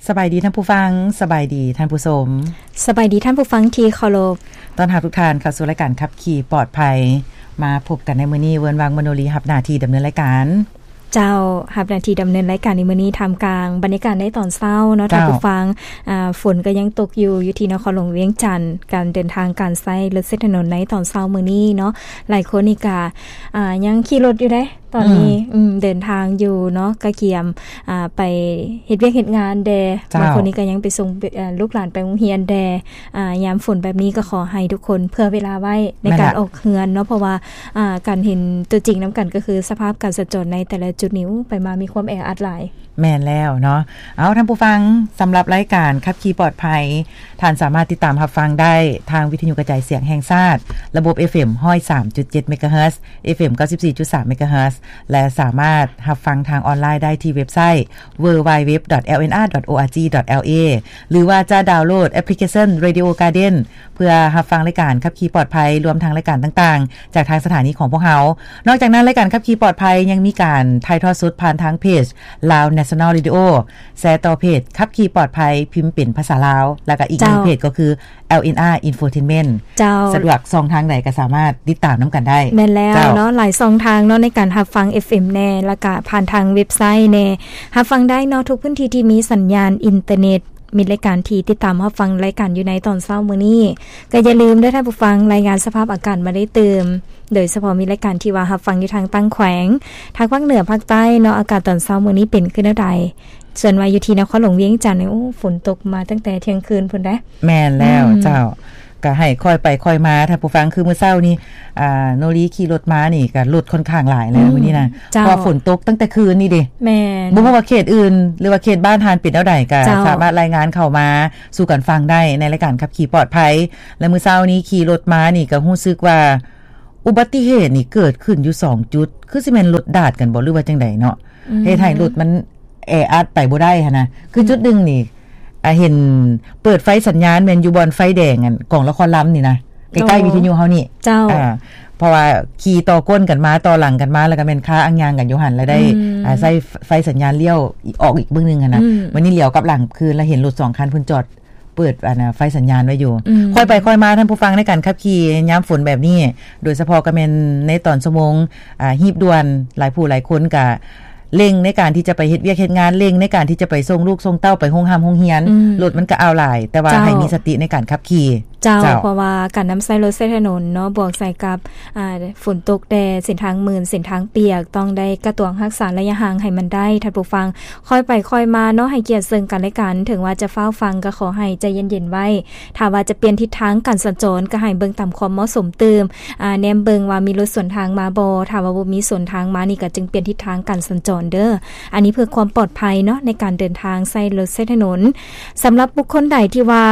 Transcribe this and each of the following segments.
ສະບາຍດີທ່ານຜູ້ຟັງ, ສະບາຍດີທ່ານຜູ້ຊົມ, ສະບາຍດີທ່ານຜູ້ຟັງທີ່ເຄົາລົບ. ຕ້ອນຮັບທຸກທ່ານເຂົ້າສູ່ລາຍການຂັບຂີ່ປອດໄພ. ມາພົບກັນໃນມື້ນີ້, ເວີນວັງ ມະໂນລີ ຮັບໜ້າທີ່ດຳເນີນລາຍການ. ເຈົ້າ, ຮັບໜ້າທີ່ດຳເນີນລາຍການໃນມື້ນີ້ ທ່າມກາງບັນຍາກາດໃນຕອນເຊົ້າເນາະ ເຈົ້າ ທ່ານຜູ້ຟັງ. ອ່າ, ຝົນກໍຍັງຕົກຢູ່, ຢູ່ທີ່ນະຄອນຫຼວງວຽງຈັນ, ການເດີນທາງ, ການໃຊ້ລົດໃຊ້ຖະໜົນໃນຕອນເຊົ້າມື້ນີ້ເນາະ, ຫຼາຍຄົນນີ້ກະ, ອ່າ, ຍັງຂີ່ລົດຢູ່ເດ້. ຕອນນີ້ ອືມ ອືມ ເດີນທາງຢູ່ເນາະ, ກະກຽມ ອ່າ ໄປເຮັດວຽກເຮັດງານແດ່, ເຈົ້າ ບາງຄົນນີ້ກະຍັງໄປສົ່ງ ເອີ ລູກຫຼານໄປໂຮງຮຽນແດ່. ອ່າ ຍາມຝົນແບບນີ້ກໍຂໍໃຫ້ທຸກຄົນເຜື່ອເວລາໄວ້ໃນການ ແມ່ນລະ ອອກເຮືອນເນາະ, ເພາະວ່າ ອ່າ ການເຫັນຕົວຈິງນຳກັນກໍຄືສະພາບການສັນຈອນໃນແຕ່ລະຈຸດນີ້ ໂອ້ ໄປມາມີຄວາມແອອັດຫຼາຍ. ແມ່ນແລ້ວເນາະ. ເອົາ ທ່ານຜູ້ຟັງ, ສຳລັບລາຍການຂັບຂີ່ປອດໄພ ທ່ານສາມາດຕິດຕາມຮັບຟັງໄດ້ທາງວິທະຍຸກະຈາຍສຽງແຫ່ງຊາດ ລະບົບ ເອຟເອັມ ຮ້ອຍສາມຈຸດເຈັດ ເມກາເຮີດ, ເອຟເອັມ ເກົ້າສິບສີ່ຈຸດສາມ ເມກາເຮີດ ແລະ ສາມາດຮັບຟັງທາງອອນລາຍໄດ້ທີ່ເວັບໄຊ www.lnr.org.la ຫຼືວ່າຈະດາວໂຫຼດແອັບພລິເຄຊັນ Radio Garden ເພື່ອຮັບຟັງລາຍການຂັບຂີ່ປອດໄພ ລວມທັງລາຍການຕ່າງໆ ຈາກທາງສະຖານີຂອງພວກເຮົາ. ນອກຈາກນັ້ນ, ລາຍການຂັບຂີ່ປອດໄພຍັງມີການຖ່າຍທອດສົດຜ່ານທາງເພຈ Lao National Radio, ແຊຕໍ່ເພຈຂັບຂີ່ປອດໄພ ພິມເປັນພາສາລາວ, ແລ້ວກໍອີກໜຶ່ງ ເຈົ້າ ເພຈກໍຄື ແອລເອັນອາ Infotainment. ເຈົ້າ ສະດວກຊ່ອງທາງໃດກໍສາມາດຕິດຕາມນຳກັນໄດ້. ແມ່ນແລ້ວ ເຈົ້າ ເນາະ, ຫຼາຍຊ່ອງທາງເນາະ ໃນການຮັບຟັງ ເອຟເອັມ ແດ່ ແລ້ວກະຜ່ານທາງເວັບໄຊແດ່, ຮັບຟັງໄດ້ເນາະ ທຸກພື້ນທີ່ທີ່ມີສັນຍານອິນເຕີເນັດ. ມີລາຍການທີ່ຕິດຕາມຮັບຟັງລາຍການຢູ່ໃນຕອນເຊົ້າມື້ນີ້ ກໍຢ່າລືມເດີທ່ານຜູ້ຟັງ, ລາຍງານສະພາບອາກາດມາໄດ້ຕື່ມ, ໂດຍສະເພາະມີລາຍການທີ່ວ່າຮັບຟັງຢູ່ທາງຕ່າງແຂວງ, ທາງພາກເໜືອ, ພາກໃຕ້ເນາະ, ອາກາດຕອນເຊົ້າມື້ນີ້ເປັນຄືແນວໃດ? ສ່ວນວ່າຢູ່ທີ່ນະຄອນຫຼວງວຽງຈັນນີ້ ໂອ້ ຝົນຕົກມາຕັ້ງແຕ່ທ່ຽງຄືນພຸ້ນເດ້. ແມ່ນແລ້ວ ອືມ ເຈົ້າ, ກໍໃຫ້ຄ່ອຍໄປຄ່ອຍມາທ່ານຜູ້ຟັງ. ຄືມື້ເຊົ້ານີ້ ອ່າ ໂນລີຂີ່ລົດມານີ້ ກໍລົດຂ້ອນຂ້າງຫຼາຍແລ້ວ ອືມ ມື້ນີ້ນະ, ເຈົ້າ ເພາະວ່າຝົນຕົກຕັ້ງແຕ່ຄືນນີ້ເດ້. ແມ່ນ, ບໍ່ຮູ້ວ່າເຂດອື່ນ ຫຼືວ່າເຂດບ້ານທ່ານເປັນແນວໃດ ກໍ ເຈົ້າ ສາມາດລາຍງານເຂົ້າມາສູ່ກັນຟັງໄດ້ໃນລາຍການຂັບຂີ່ປອດໄພ. ແລະ ມື້ເຊົ້ານີ້ຂີ່ລົດມານີ້ ກໍຮູ້ສຶກວ່າ ອຸບັດຕິເຫດນີ້ເກີດຂຶ້ນຢູ່ສອງຈຸດ, ຄືຊິແມ່ນລົດດາດກັນບໍ່ ຫຼືວ່າຈັ່ງໃດເນາະ, ອືມ ເຮັດໃຫ້ລົດມັນແອອັດໄປບໍ່ໄດ້ຫັ້ນນະ. ຄື ອືມ ຈຸດໜຶ່ງນີ້ ອ່າ ເຫັນເປີດໄຟສັນຍານແມ່ນຢູ່ບ່ອນໄຟແດງ ອັນ ກອງລະຄອນລຳນີ້ນະ, ໃກ້ໆ ໂອ້ ວິທະຍຸເຮົານີ້. ເຈົ້າ. ອ່າ ເພາະວ່າຂີ່ຕໍ່ກົ້ນກັນມາ ຕໍ່ຫຼັງກັນມາ ແລ້ວກໍແມ່ນຄາອ່າງຍາງກັນຢູ່ຫັ້ນ ແລ້ວໄດ້ ອືມ ອ່າ ໃຊ້ໄຟສັນຍານລ້ຽວອອກອີກເບື້ອງໜຶ່ງຫັ້ນນະ. ອືມ ມື້ນີ້ຫຼຽວກັບຫຼັງຄືນ ແລ້ວເຫັນລົດສອງຄັນເພິ່ນຈອດ ເປີດ ອັນນະ ໄຟສັນຍານໄວ້ຢູ່. ອືມ ຄ່ອຍໄປຄ່ອຍມາທ່ານຜູ້ຟັງ, ໃນການຂັບຂີ່ຍາມຝົນແບບນີ້ ໂດຍສະເພາະກໍແມ່ນໃນຕອນຊົ່ວໂມງ ອ່າ ຮີບດ່ວນ, ຫຼາຍຜູ້ຫຼາຍຄົນກະເລັ່ງໃນການທີ່ຈະໄປເຮັດວຽກເຮັດງານ, ເລັ່ງໃນການທີ່ຈະໄປສົ່ງລູກສົ່ງເຕົ້າໄປໂຮງຮ່ຳໂຮງຮຽນ. ອືມ ລົດມັນກໍອາວຫຼາຍ, ແຕ່ວ່າ ເຈົ້າ ໃຫ້ມີສະຕິໃນການຂັບຂີ່. ເຈົ້າ. ເຈົ້າ. ເພາະວ່າການນຳໃຊ້ລົດໃຊ້ຖະໜົນເນາະ, ບວກໃສ່ກັບ ອ່າ ຝົນຕົກແດ່, ເສັ້ນທາງມື່ນ, ເສັ້ນທາງປຽກ, ຕ້ອງໄດ້ກະຕວງຮັກສາໄລຍະຫ່າງໃຫ້ມັນໄດ້. ທ່ານຜູ້ຟັງ, ຄ່ອຍໄປຄ່ອຍມາເນາະ, ໃຫ້ກຽດເຊິ່ງກັນແລະກັນ. ເຖິງວ່າຈະຟ້າວຟັ່ງ ກໍຂໍໃຫ້ໃຈເຢັນໆໄວ້. ຖ້າວ່າຈະປ່ຽນທິດທາງການສັນຈອນ ກໍໃຫ້ເບິ່ງຕາມຄວາມເໝາະສົມຕື່ມ, ອ່າ ແນມເບິ່ງວ່າມີລົດສວນທາງມາບໍ່. ຖ້າວ່າບໍ່ມີສວນທາງມານີ້ ກໍຈຶ່ງປ່ຽນທິດທາງການສັນຈອນເດີ. ອັນນີ້ເພື່ອຄວາມປອດໄພເນາະ ໃນການເດີນທາງໃຊ້ລົດໃຊ້ຖະໜົນ. ສຳລັບບຸກຄົນໃດທີ່ວ່າ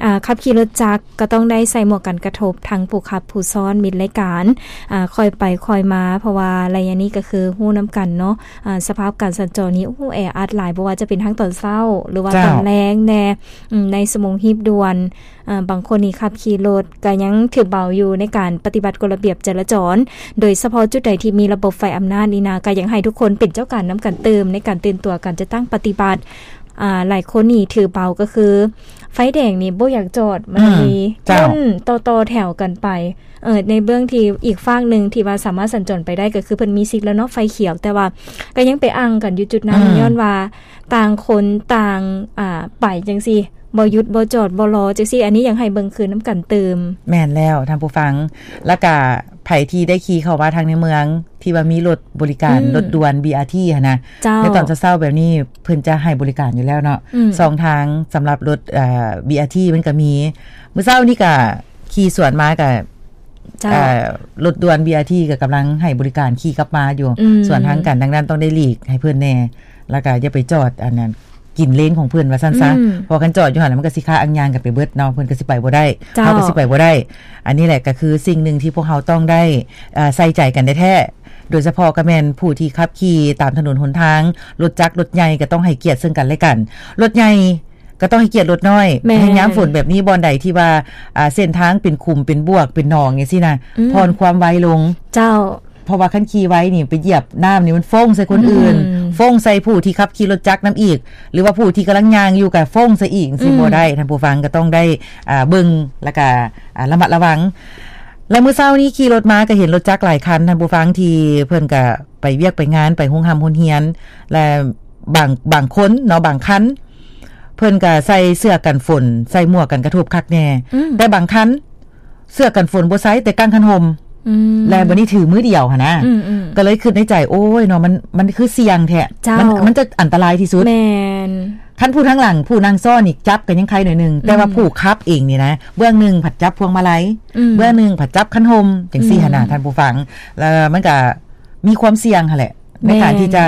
ອ່າ ຂັບຂີ່ລົດຈັກ ກໍຕ້ອງໄດ້ໃສ່ໝວກກັນກະທົບ ທັງຜູ້ຂັບຜູ້ຊ້ອນ, ມິດລາຍການ ອ່າ ຄ່ອຍໄປຄ່ອຍມາ, ເພາະວ່າໄລຍະນີ້ກໍຄືຮູ້ນຳກັນເນາະ, ອ່າ ສະພາບການສັນຈອນນີ້ ໂອ້ ແອອັດຫຼາຍ, ບໍ່ວ່າຈະເປັນທັງຕອນເຊົ້າ ຫຼືວ່າ ເຈົ້າ ຕອນແລງແດ່. ອືມ ໃນຊົ່ວໂມງຮີບດ່ວນ ອ່າ ບາງຄົນນີ້ຂັບຂີ່ລົດກໍຍັງຖືເບົາຢູ່ໃນການປະຕິບັດກົດລະບຽບຈະລາຈອນ, ໂດຍສະເພາະຈຸດໃດທີ່ມີລະບົບໄຟອຳນາດນີ້ນະ, ກໍຢາກໃຫ້ທຸກຄົນເປັນເຈົ້າການນຳກັນຕື່ມ ໃນການຕື່ນຕົວ ການຈັດຕັ້ງປະຕິບັດ. ອ່າ ຫຼາຍຄົນນີ້ຖືເບົາກໍຄື ໄຟແດງນີ້ບໍ່ຢາກຈອດ, ມັນ ອືມ ມີ ເຈົ້າ ຄົນຕໍ່ໆແຖວກັນໄປ. ເອີ ໃນເບື້ອງທີ່ອີກຟາກໜຶ່ງທີ່ວ່າສາມາດສັນຈອນໄປໄດ້ ກໍຄືເພິ່ນມີສິດແລ້ວເນາະ ໄຟຂຽວ, ແຕ່ວ່າກໍຍັງໄປອັ່ງກັນຢູ່ຈຸດນັ້ນ ອືມ ຍ້ອນວ່າຕ່າງຄົນຕ່າງ ອ່າ ໄປຈັ່ງຊີ້, ບໍ່ຢຸດບໍ່ຈອດບໍ່ລໍຈັ່ງຊີ້. ອັນນີ້ຢາກໃຫ້ເບິ່ງຄືນນຳກັນຕື່ມ. ແມ່ນແລ້ວທ່ານຜູ້ຟັງ, ແລ້ວກະໃຜທີ່ໄດ້ຂີ່ເຂົ້າມາທາງໃນເມືອງ ທີ່ວ່າມີລົດບໍລິການ ອືມ ລົດດ່ວນ ບີອາທີຫັ້ນນະ, ເຈົ້າ ໃນຕອນເຊົ້າໆແບບນີ້ ເພິ່ນຈະໃຫ້ບໍລິການຢູ່ແລ້ວເນາະ. ອືມ ຊ່ອງທາງສຳລັບລົດ ເອີ ບີອາທີ ມັນກໍມີ. ມື້ເຊົ້ານີ້ກໍຂີ່ສວນມາກໍ ເຈົ້າ ເອີ ລົດດ່ວນ ບີອາທີ ກໍກຳລັງໃຫ້ບໍລິການຂີ່ກັບມາຢູ່ ອືມ ສວນທາງກັນ, ດັ່ງນັ້ນຕ້ອງໄດ້ຫຼີກໃຫ້ເພິ່ນແດ່ ແລ້ວກໍຢ່າໄປຈອດ ອັນນັ້ນ ກິນເລນຂອງເພິ່ນວ່າຊັ້ນຊະ. ອືມ ເພາະຄັນຈອດຢູ່ຫັ້ນ ແລ້ວມັນກໍຊິຄາອ່າງຍາງກັນໄປເບິດເນາະ, ເພິ່ນກໍຊິໄປບໍ່ໄດ້, ເຈົ້າ ເຮົາກໍຊິໄປບໍ່ໄດ້. ອັນນີ້ແຫຼະກໍຄືສິ່ງໜຶ່ງທີ່ພວກເຮົາຕ້ອງໄດ້ ເອີ ໃສ່ໃຈກັນແທ້ໆ, ໂດຍສະເພາະກໍແມ່ນຜູ້ທີ່ຂັບຂີ່ຕາມຖະໜົນຫົນທາງ, ລົດຈັກລົດໃຫຍ່ກໍຕ້ອງໃຫ້ກຽດເຊິ່ງກັນແລະກັນ. ລົດໃຫຍ່ກໍຕ້ອງໃຫ້ກຽດລົດນ້ອຍ. ແມ່ນ. ໃນຍາມຝົນແບບນີ້ ບ່ອນໃດທີ່ວ່າ ອ່າ ເສັ້ນທາງເປັນຂຸມເປັນບວກເປັນໜອງຈັ່ງຊີ້ນະ, ອືມ ຜ່ອນຄວາມໄວລົງ. ເຈົ້າ. ເພາະວ່າຄັນຂີ່ໄວນີ້ໄປຢຽບນ້ຳນີ້ ມັນຟົ້ງໃສ່ຄົນອື່ນ ອືມ ຟົ້ງໃສ່ຜູ້ທີ່ຂັບຂີ່ລົດຈັກນຳອີກ ຫຼືວ່າຜູ້ທີ່ກຳລັງຍ່າງຢູ່ກໍຟົ້ງໃສ່ອີກ ຈັ່ງຊີ້ ອືມ ບໍ່ໄດ້. ທ່ານຜູ້ຟັງກໍຕ້ອງໄດ້ ອ່າ ເບິ່ງ ແລ້ວກໍ ອ່າ ລະມັດລະວັງ. ແລະ ມື້ເຊົ້ານີ້ຂີ່ລົດມາກໍເຫັນລົດຈັກຫຼາຍຄັນ ທ່ານຜູ້ຟັງ ທີ່ເພິ່ນກໍໄປວຽກໄປງານ ໄປໂຮງຮ່ຳໂຮງຮຽນ ແລະ ບາງ ບາງຄົນເນາະ ບາງຄັນ ເພິ່ນກໍໃສ່ເສື້ອກັນຝົນ ໃສ່ໝວກກັນກະທົບຄັກແນ່ ອືມ ແຕ່ບາງຄັນ ເສື້ອກັນຝົນບໍ່ໃສ່ ແຕ່ກາງຄັນຮົ່ມ ອືມ ແລະ ບັດນີ້ຖືມືດຽວຫັ້ນນະ ອືມໆ ກໍເລີຍຄິດໃນໃຈ ໂອ້ຍເນາະ ມັນ ມັນຄືສ່ຽງແທ້ ເຈົ້າ ມັນ ມັນຈະອັນຕະລາຍທີ່ສຸດ ແມ່ນ ຄັນຜູ້ທາງຫຼັງ ຜູ້ນັ່ງຊ້ອນນີ້ຈັບກໍຍັງໄຄໜ້ອຍໜຶ່ງ ອືມ ແຕ່ວ່າຜູ້ຂັບເອງນີ້ນະ ເບື້ອງໜຶ່ງພັດຈັບພວງມາໄລ ອືມ ເບື້ອງໜຶ່ງພັດຈັບຄັນຮົ່ມ ຈັ່ງຊີ້ ອືມ ຫັ້ນນະ ທ່ານຜູ້ຟັງ ແລ້ວມັນກໍມີຄວາມສ່ຽງຫັ້ນແຫຼະ ໃນການທີ່ຈະ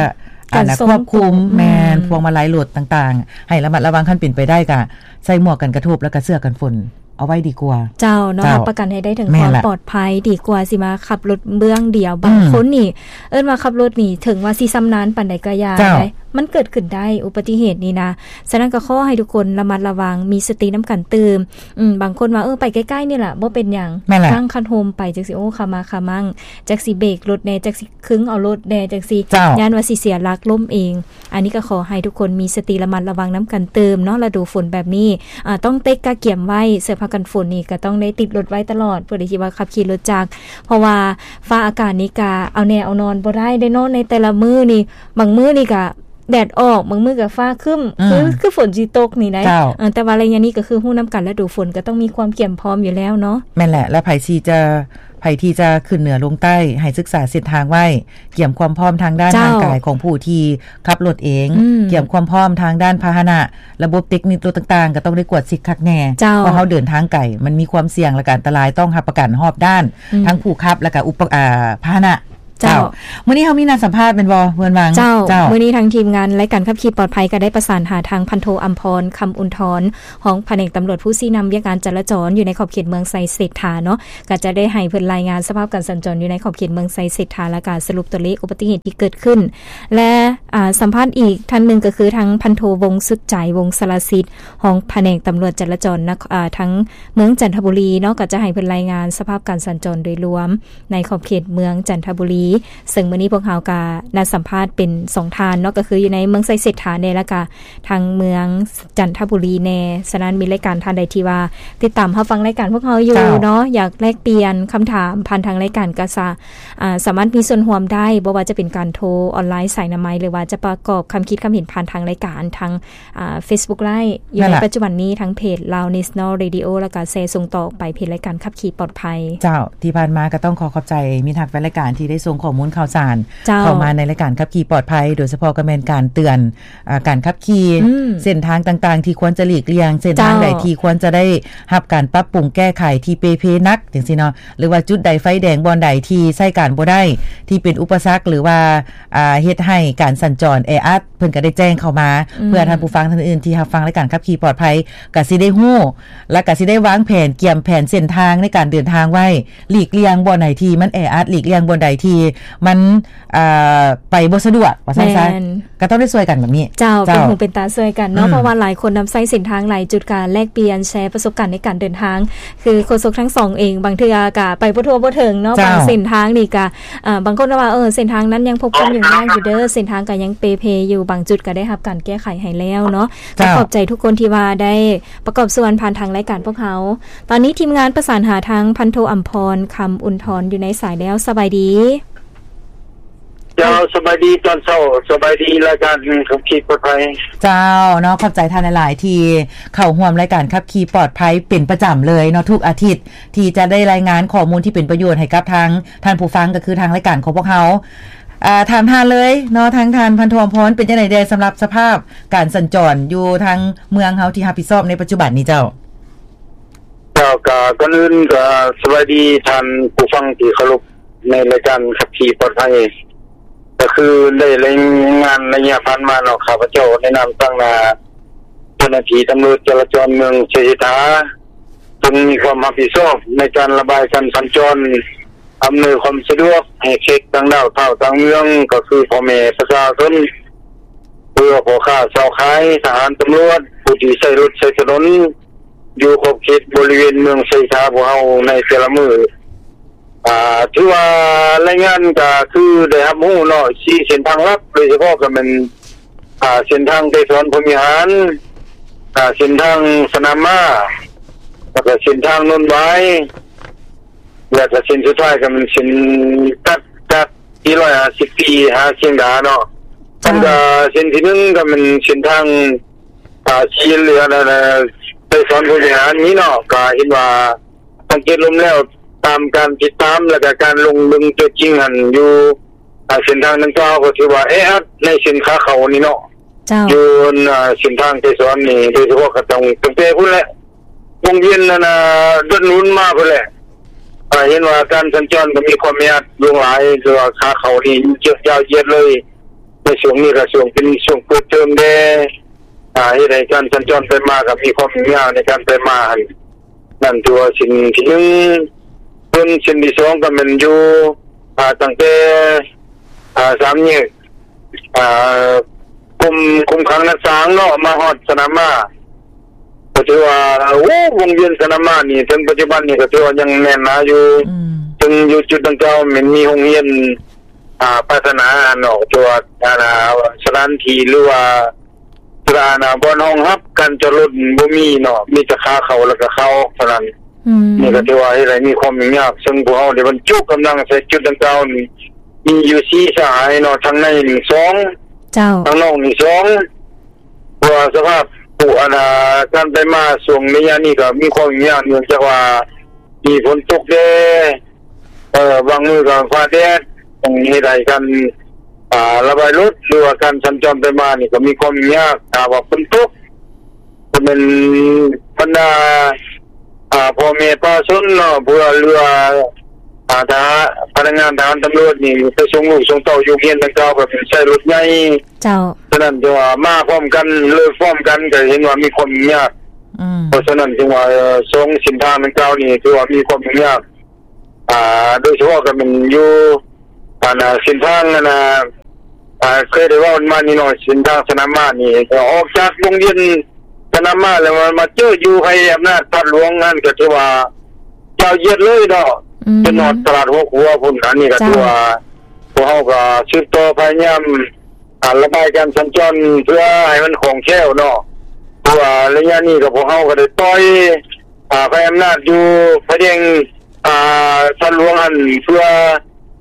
ແມ່ນ ອັນນະ ການສົ່ງ ຄວບຄຸມ ຄວບຄຸມ ແມ່ນ ອືມ ພວງມາໄລລົດຕ່າງໆ ໃຫ້ລະມັດລະວັງ ຄັນເປັນໄປໄດ້ກໍໃສ່ໝວກກັນກະທົບ ແລ້ວກໍເສື້ອກັນຝົນ ເອົາໄວ້ດີກວ່າ ເຈົ້າເນາະ ເຈົ້າ ຮັບປະກັນໃຫ້ໄດ້ເຖິງ ແມ່ນລະ ຄວາມປອດໄພ ດີກວ່າຊິມາຂັບລົດເບື້ອງດຽວ ອືມ ບາງຄົນນີ້ ເອີ້ນວ່າຂັບລົດນີ້ ເຖິງວ່າຊິຊຳນານປານໃດກໍຢ່າ ເຈົ້າ ໄດ໋ ມັນເກີດຂຶ້ນໄດ້ ອຸບັດຕິເຫດນີ້ນະ. ສະນັ້ນກໍຂໍໃຫ້ທຸກຄົນລະມັດລະວັງ ມີສະຕິນຳກັນຕື່ມ ອືມ ບາງຄົນວ່າ ເອີ ໄປໃກ້ໆນີ້ລະ ບໍ່ເປັນຫຍັງ ແມ່ນລະ ກາງຄັນຮົ່ມໄປ ຈັ່ງຊີ້ ໂອ້ ຂາມາຂາມັງ ຈັກຊິເບກລົດແດ່ ຈັກຊິ ຄຶງເອົາລົດແດ່ຈັ່ງຊີ້ ເຈົ້າ ຢ້ານວ່າຊິເສຍຫຼັກລົ້ມເອງ. ອັນນີ້ກໍຂໍໃຫ້ທຸກຄົນມີສະຕິລະມັດລະວັງນຳກັນຕື່ມເນາະ ລະດູຝົນແບບນີ້ ອາ ຕ້ອງເຕັກກະກຽມໄວ້ ເສື້ອຜ້າກັນຝົນນີ້ກໍຕ້ອງໄດ້ຕິດລົດໄວ້ຕະຫຼອດ ຜູ້ໃດທີ່ວ່າຂັບຂີ່ລົດຈັກ ເພາະວ່າຟ້າອາກາດນີ້ກະເອົາແນ່ເອົານອນບໍ່ໄດ້ເດ້ເນາະ ໃນແຕ່ລະມື້ນີ້ ບາງມື້ນີ້ກະແດດອອກ ບາງມື້ກະຟ້າຄຶ້ມ ອືມ ຄື ຄືຝົນຊິຕົກນີ້ໄດ໋ ເຈົ້າ ເອີ ແຕ່ວ່າໄລຍະນີ້ກໍຄືຮູ້ນຳກັນ ລະດູຝົນກໍຕ້ອງມີຄວາມກຽມພ້ອມຢູ່ແລ້ວເນາະ ແມ່ນແຫຼະ ແລະ ໃຜທີ່ຈະ ໃຜທີ່ຈະຂຶ້ນເໜືອລົງໃຕ້ ໃຫ້ສຶກສາເສັ້ນທາງໄວ້ ກຽມຄວາມພ້ອມທາງດ້ານ ເຈົ້າ ຮ່າງກາຍຂອງຜູ້ທີ່ຂັບລົດເອງ ອືມ ກຽມຄວາມພ້ອມທາງດ້ານພາຫະນະ ລະບົບເຕັກນິກລົດຕ່າງໆ ກໍຕ້ອງໄດ້ກວດເຊັກຄັກແນ່ ເຈົ້າ ເພາະເຮົາເດີນທາງໄກ ມັນມີຄວາມສ່ຽງ ແລະ ກະອັນຕະລາຍ ຕ້ອງຮັບປະກັນຮອບດ້ານ ອືມ ທັງຜູ້ຂັບ ແລະ ກະອຸປະ ອາ ພາຫະນະ ເຈົ້າ ເຈົ້າ ມື້ນີ້ເຮົາມີນັດສຳພາດແມ່ນບໍ່ ເພື່ອນຫວັງ? ເຈົ້າ ເຈົ້າ ມື້ນີ້ທາງທີມງານລາຍການຂັບຂີ່ປອດໄພກໍໄດ້ປະສານຫາທາງພັນໂທ ອຳພອນ ຄຳອຸນທອນ ຮອງພະແນກຕຳຫຼວດຜູ້ຊີ້ນຳວຽກງານຈະລາຈອນຢູ່ໃນຂອບເຂດເມືອງໄຊເສດຖາເນາະ ກໍຈະໄດ້ໃຫ້ເພິ່ນລາຍງານສະພາບການສັນຈອນຢູ່ໃນຂອບເຂດເມືອງໄຊເສດຖາ ແລະ ກະສະຫຼຸບຕົວເລກອຸບັດຕິເຫດທີ່ເກີດຂຶ້ນ ແລະ ອາ ສຳພາດອີກທ່ານໜຶ່ງກໍຄືທາງພັນໂທ ວົງສຸດໃຈ ວົງສາລະສິດ ຮອງພະແນກຕຳຫຼວດຈະລາຈອນນະຄອນ ອາ ທາງເມືອງຈັນທະບູລີເນາະ ກໍຈະໃຫ້ເພິ່ນລາຍງານສະພາບການສັນຈອນໂດຍລວມ ໃນຂອບເຂດເມືອງຈັນທະບູລີ ເຊິ່ງມື້ນີ້ພວກເຮົາກະນັດສຳພາດເປັນສອງທ່ານເນາະ ກໍຄືຢູ່ໃນເມືອງໄຊເສດຖາແດ່ ແລ້ວກະທາງເມືອງຈັນທະບູລີແດ່. ສະນັ້ນມີລາຍການທ່ານໃດທີ່ວ່າຕິດຕາມຮັບຟັງລາຍການພວກເຮົາຢູ່ ເຈົ້າ ເນາະ ຢາກແລກປ່ຽນຄຳຖາມຜ່ານທາງລາຍການ ກະສາ ອາ ສາມາດມີສ່ວນຮ່ວມໄດ້ ບໍ່ວ່າຈະເປັນການໂທອອນລາຍສາຍໜ້າໄມ້ ຫຼືວ່າຈະປະກອບຄຳຄິດຄຳເຫັນຜ່ານທາງລາຍການທາງ ອາ Facebook Live ຢູ່ໃນ ນັ້ນລະ ປັດຈຸບັນນີ້ ທາງເພຈ Lao National Radio ແລ້ວກະແຊສົ່ງຕໍ່ໄປເພຈລາຍການຂັບຂີ່ປອດໄພ. ເຈົ້າ ທີ່ຜ່ານມາກໍຕ້ອງຂໍຂອບໃຈມິດຮັກແຟນລາຍການທີ່ໄດ້ສົ່ງຂໍ້ມູນຂ່າວສານ ເຈົ້າ ເຂົ້າມາໃນລາຍການຂັບຂີ່ປອດໄພ ໂດຍສະເພາະກໍແມ່ນການເຕືອນ ອາ ການຂັບຂີ່ ອືມ ເສັ້ນທາງຕ່າງໆທີ່ຄວນຈະຫຼີກລ່ຽງ ເສັ້ນທາງ ເຈົ້າ ໃດທີ່ຄວນຈະໄດ້ຮັບການປັບປຸງແກ້ໄຂທີ່ເປ່ເພໜັກ ຈັ່ງຊີ້ເນາະ ຫຼືວ່າຈຸດໃດໄຟແດງ ບ່ອນໃດທີ່ໃຊ້ການບໍ່ໄດ້ ທີ່ເປັນອຸປະສັກ ຫຼືວ່າ ອ່າ ເຮັດໃຫ້ການສັນຈອນແອອັດ ເພິ່ນກໍໄດ້ແຈ້ງເຂົ້າມາ ອືມ ເພື່ອທ່ານຜູ້ຟັງທ່ານອື່ນທີ່ຮັບຟັງລາຍການຂັບຂີ່ປອດໄພ ກໍຊິໄດ້ຮູ້ ແລະ ກໍຊິໄດ້ວາງແຜນ ກຽມແຜນເສັ້ນທາງໃນການເດີນທາງໄວ້ ຫຼີກລ່ຽງບ່ອນໃດທີ່ມັນແອອັດ ຫຼີກລ່ຽງບ່ອນໃດທີ່ມັນ ອ່າ ໄປບໍ່ສະດວກ ວ່າຊັ້ນຊະ ແມ່ນ ກໍຕ້ອງໄດ້ຊ່ວຍກັນແບບນີ້ ເຈົ້າ ເຈົ້າ ເປັນຫູເປັນຕາຊ່ວຍກັນເນາະ ອືມ ເພາະວ່າຫຼາຍຄົນນຳໃຊ້ເສັ້ນທາງຫຼາຍຈຸດ ກໍແລກປ່ຽນແຊປະສົບການໃນການເດີນທາງ ຄືໂຄສົກທັງສອງເອງ ບາງເທື່ອກະໄປບໍ່ທົ່ວບໍ່ເຖິງເນາະ ເຈົ້າ ບາງເສັ້ນທາງນີ້ກະ ເອີ ບາງຄົນກໍວ່າ ເອີ ເສັ້ນທາງນັ້ນຍັງພົບຄວາມຫຍຸ້ງຍາກຢູ່ເດີ ເສັ້ນທາງກໍຍັງເປເພຢູ່ ບາງຈຸດກໍໄດ້ຮັບການແກ້ໄຂໃຫ້ແລ້ວເນາະ ເຈົ້າ ກໍຂອບໃຈທຸກຄົນທີ່ວ່າໄດ້ປະກອບສ່ວນຜ່ານທາງລາຍການພວກເຮົາ. ຕອນນີ້ທີມງານປະສານຫາທາງພັນໂທ ອຳພອນ ຄຳອຸ່ນທອນ ຢູ່ໃນສາຍແລ້ວ. ສະບາຍດີ. ເຈົ້າ ສະບາຍດີຕອນເຊົ້າ ສະບາຍດີລາຍການຂັບຂີ່ປອດໄພ. ເຈົ້າ ເນາະ ຂອບໃຈທ່ານຫຼາຍໆ ທີ່ເຂົ້າຮ່ວມລາຍການຂັບຂີ່ປອດໄພເປັນປະຈຳເລີຍເນາະ ທຸກອາທິດ ທີ່ຈະໄດ້ລາຍງານຂໍ້ມູນທີ່ເປັນປະໂຫຍດໃຫ້ກັບທາງທ່ານຜູ້ຟັງ ກໍຄືທາງລາຍການຂອງພວກເຮົາ. ອ່າ ຖາມທ່ານເລີຍເນາະ ທາງທ່ານພັນໂທ ອຳພອນ ເປັນຈັ່ງໃດແດ່ສຳລັບສະພາບການສັນຈອນຢູ່ທາງເມືອງເຮົາທີ່ຮັບຜິດຊອບໃນປັດຈຸບັນນີ້ເຈົ້າ? ເຈົ້າ ກະກ່ອນອື່ນກະສະບາຍດີທ່ານຜູ້ຟັງທີ່ເຄົາລົບ ໃນລາຍການຂັບຂີ່ປອດໄພ ກໍຄືໄດ້ລາຍງານໄລຍະຜ່ານມາເນາະ ຂ້າພະເຈົ້າໃນນາມຕາງໜ້າເຈົ້າໜ້າທີ່ຕຳຫຼວດຈະລາຈອນເມືອງໄຊເສດຖາ ເຊິ່ງມີຄວາມຮັບຜິດຊອບໃນການລະບາຍການສັນຈອນ ອຳນວຍຄວາມສະດວກໃຫ້ແຂກຕ່າງດ້າວຕ່າງເມືອງ ກໍຄືພໍ່ແມ່ປະຊາຊົນ ຫຼືວ່າພໍ່ຄ້າຊາວຂາຍ, ທະຫານ, ຕຳຫຼວດ, ຜູ້ທີ່ໃຊ້ລົດໃຊ້ຖະໜົນ ຢູ່ຂອບເຂດບໍລິເວນເມືອງໄຊເສດຖາພວກເຮົາໃນແຕ່ລະມື້. ອ່າ ຖືວ່າລາຍງານກໍຄືໄດ້ຮັບຮູ້ເນາະ ສີ່ເສັ້ນທາງຫຼັກ ໂດຍສະເພາະກໍແມ່ນ ອ່າ ເສັ້ນທາງໄກສອນ ພົມວິຫານ ອ່າ ເສັ້ນທາງສະໜາມມ້າ ແລ້ວກໍເສັ້ນທາງໂນນຫວາຍ ແລ້ວກໍເສັ້ນສຸດທ້າຍກໍແມ່ນເສັ້ນຕັດຈາກທີ່ຮ້ອຍຫ້າສິບປີຫາຊຽງດາເນາະ. ເຈົ້າ. ມັນກໍເສັ້ນທີໜຶ່ງກໍແມ່ນເສັ້ນທາງ ອ່າ ສີເຫຼືອນ ອັນ ໄກສອນ ພົມວິຫານນີ້ເນາະ ກໍເຫັນວ່າ ສັງເກດລວມແລ້ວ ຕາມການຕິດຕາມ ແລ້ວກໍການລົງເບິ່ງຕົວຈິງຫັ້ນ ຢູ່ ອ່າ ເສັ້ນທາງດັ່ງກ່າວ ກໍຖືວ່າແອອັດໃນເສັ້ນຂາເຂົ້ານີ້ເນາະ. ເຈົ້າ. ຢູ່ ອ່າ ເສັ້ນທາງໄກສອນນີ້ ໂດຍສະເພາະກໍຕ້ອງ ຕັ້ງແຕ່ພຸ້ນແຫຼະ ວົງວຽນ ອັນ ດອນໜູນມາພຸ້ນແຫຼະ ກໍເຫັນວ່າການສັນຈອນກໍມີຄວາມແອອັດຫຼວງຫຼາຍ ແຕ່ວ່າຂາເຂົ້ານີ້ເຍອະຍາວຢຽດເລີຍ ໃນຊ່ວງນີ້ກໍຊ່ວງເປັນຊ່ວງເປີດເທີມແດ່ ອ່າ ເຮັດໃຫ້ການສັນຈອນໄປມາກໍມີຄວາມຫຍຸ້ງຍາກໃນການໄປມາຫັ້ນ. ນັ້ນຖືວ່າເສັ້ນທີໜຶ່ງ ສ່ວນເສັ້ນທີສອງກໍແມ່ນຢູ່ ອ່າ ຕັ້ງແຕ່ ອ່າ ສາມແຍກ ອ່າ ກົມ ກົມຄັງນາຊາງເນາະ ມາຮອດສະໜາມມ້າ ກໍຖືວ່າ ໂອ້ ວົງວຽນສະໜາມມ້ານີ້ ເຖິງປັດຈຸບັນນີ້ກໍຖືວ່າຍັງແໜ້ນໜາຢູ່. ອືມ. ເຖິງຢູ່ຈຸດດັ່ງກ່າວແມ່ນມີໂຮງຮຽນ ອ່າ ພັດທະນາເນາະ ແຕ່ວ່າ ອ່າ ສະຖານທີ່ ຫຼືວ່າ ສະຖານະ ບ່ອນຮອງຮັບການຈອດລົດບໍ່ມີເນາະ ມີແຕ່ຂາເຂົ້າ ແລ້ວກໍຂາອອກເທົ່ານັ້ນ. ອືມ. ນີ້ກໍຖືວ່າເຮັດໃຫ້ມີຄວາມຫຍຸ້ງຍາກ ເຊິ່ງພວກເຮົາໄດ້ບັນຈຸກຳລັງໃສ່ຈຸດດັ່ງກ່າວນີ້ ມີຢູ່ສີ່ສະຫາຍເນາະ ທາງໃນນີ້ສອງ ເຈົ້າ. ທາງນອກນີ້ສອງ ເພາະວ່າສະພາບຜູ້ ອັນ ອ່າ ການໄປມາຊ່ວງໄລຍະນີ້ກໍມີຄວາມຫຍຸ້ງຍາກ ເນື່ອງຈາກວ່າມີຝົນຕົກແດ່ ເອີ ບາງມື້ກໍຟ້າແດດ ຕ້ອງເຮັດໃຫ້ການ ອ່າ ລະບາຍລົດ ຫຼືວ່າການສັນຈອນໄປມານີ້ກໍມີຄວາມຫຍຸ້ງຍາກ ຖ້າວ່າຝົນຕົກ ກໍແມ່ນບັນດາ ອ່າ ພໍ່ແມ່ປະຊາຊົນເນາະ ເພື່ອເຫຼືອ ອ່າ ທະຫານ ພະນັກງານທະຫານຕຳຫຼວດນີ້ ໄປສົ່ງລູກສົ່ງເຕົ້າຢູ່ໂຮງຮຽນດັ່ງກ່າວ ກໍແມ່ນໃຊ້ລົດໃຫຍ່. ເຈົ້າ. ສະນັ້ນ ແຕ່ວ່າມາພ້ອມກັນ ເລີຍພ້ອມກັນ ກໍເຫັນວ່າມີຄວາມຫຍຸ້ງຍາກ. ອືມ. ເພາະສະນັ້ນ ຈຶ່ງວ່າ ເອີ ສອງເສັ້ນທາງດັ່ງກ່າວນີ້ ຖືວ່າມີຄວາມຫຍຸ້ງຍາກ ອ່າ ໂດຍສະເພາະກໍແມ່ນຢູ່ ອັນ ເສັ້ນທາງ ອັນ ອ່າ ເຄີຍໄດ້ເວົ້າມານີ້ເນາະ ເສັ້ນທາງສະໜາມມ້ານີ້ ອອກຈາກວົງວຽນສະໜາມມ້າແລ້ວ ມາ ມາເຈີຢູ່ໄພອຳນາດທາດຫຼວງນັ້ນ ກໍຖືວ່າຍາວຢຽດເລີຍເນາະ. ອືມ. ເປັນຮອດຕະຫຼາດຫົວຂົວພຸ້ນ. ອັນນີ້ກໍ ເຈົ້າ. ຖືວ່າ ພວກເຮົາກໍສືບຕໍ່ພະຍາຍາມ ອ່າ ລະບາຍການສັນຈອນ ເພື່ອໃຫ້ມັນຄ່ອງແຄ້ວເນາະ ເພາະວ່າໄລຍະນີ້ກໍ ພວກເຮົາກໍໄດ້ປ່ອຍ ອ່າ ໄພອຳນາດຢູ່ໄຟແດງ ອ່າ ທາດຫຼວງຫັ້ນ ເພື່ອ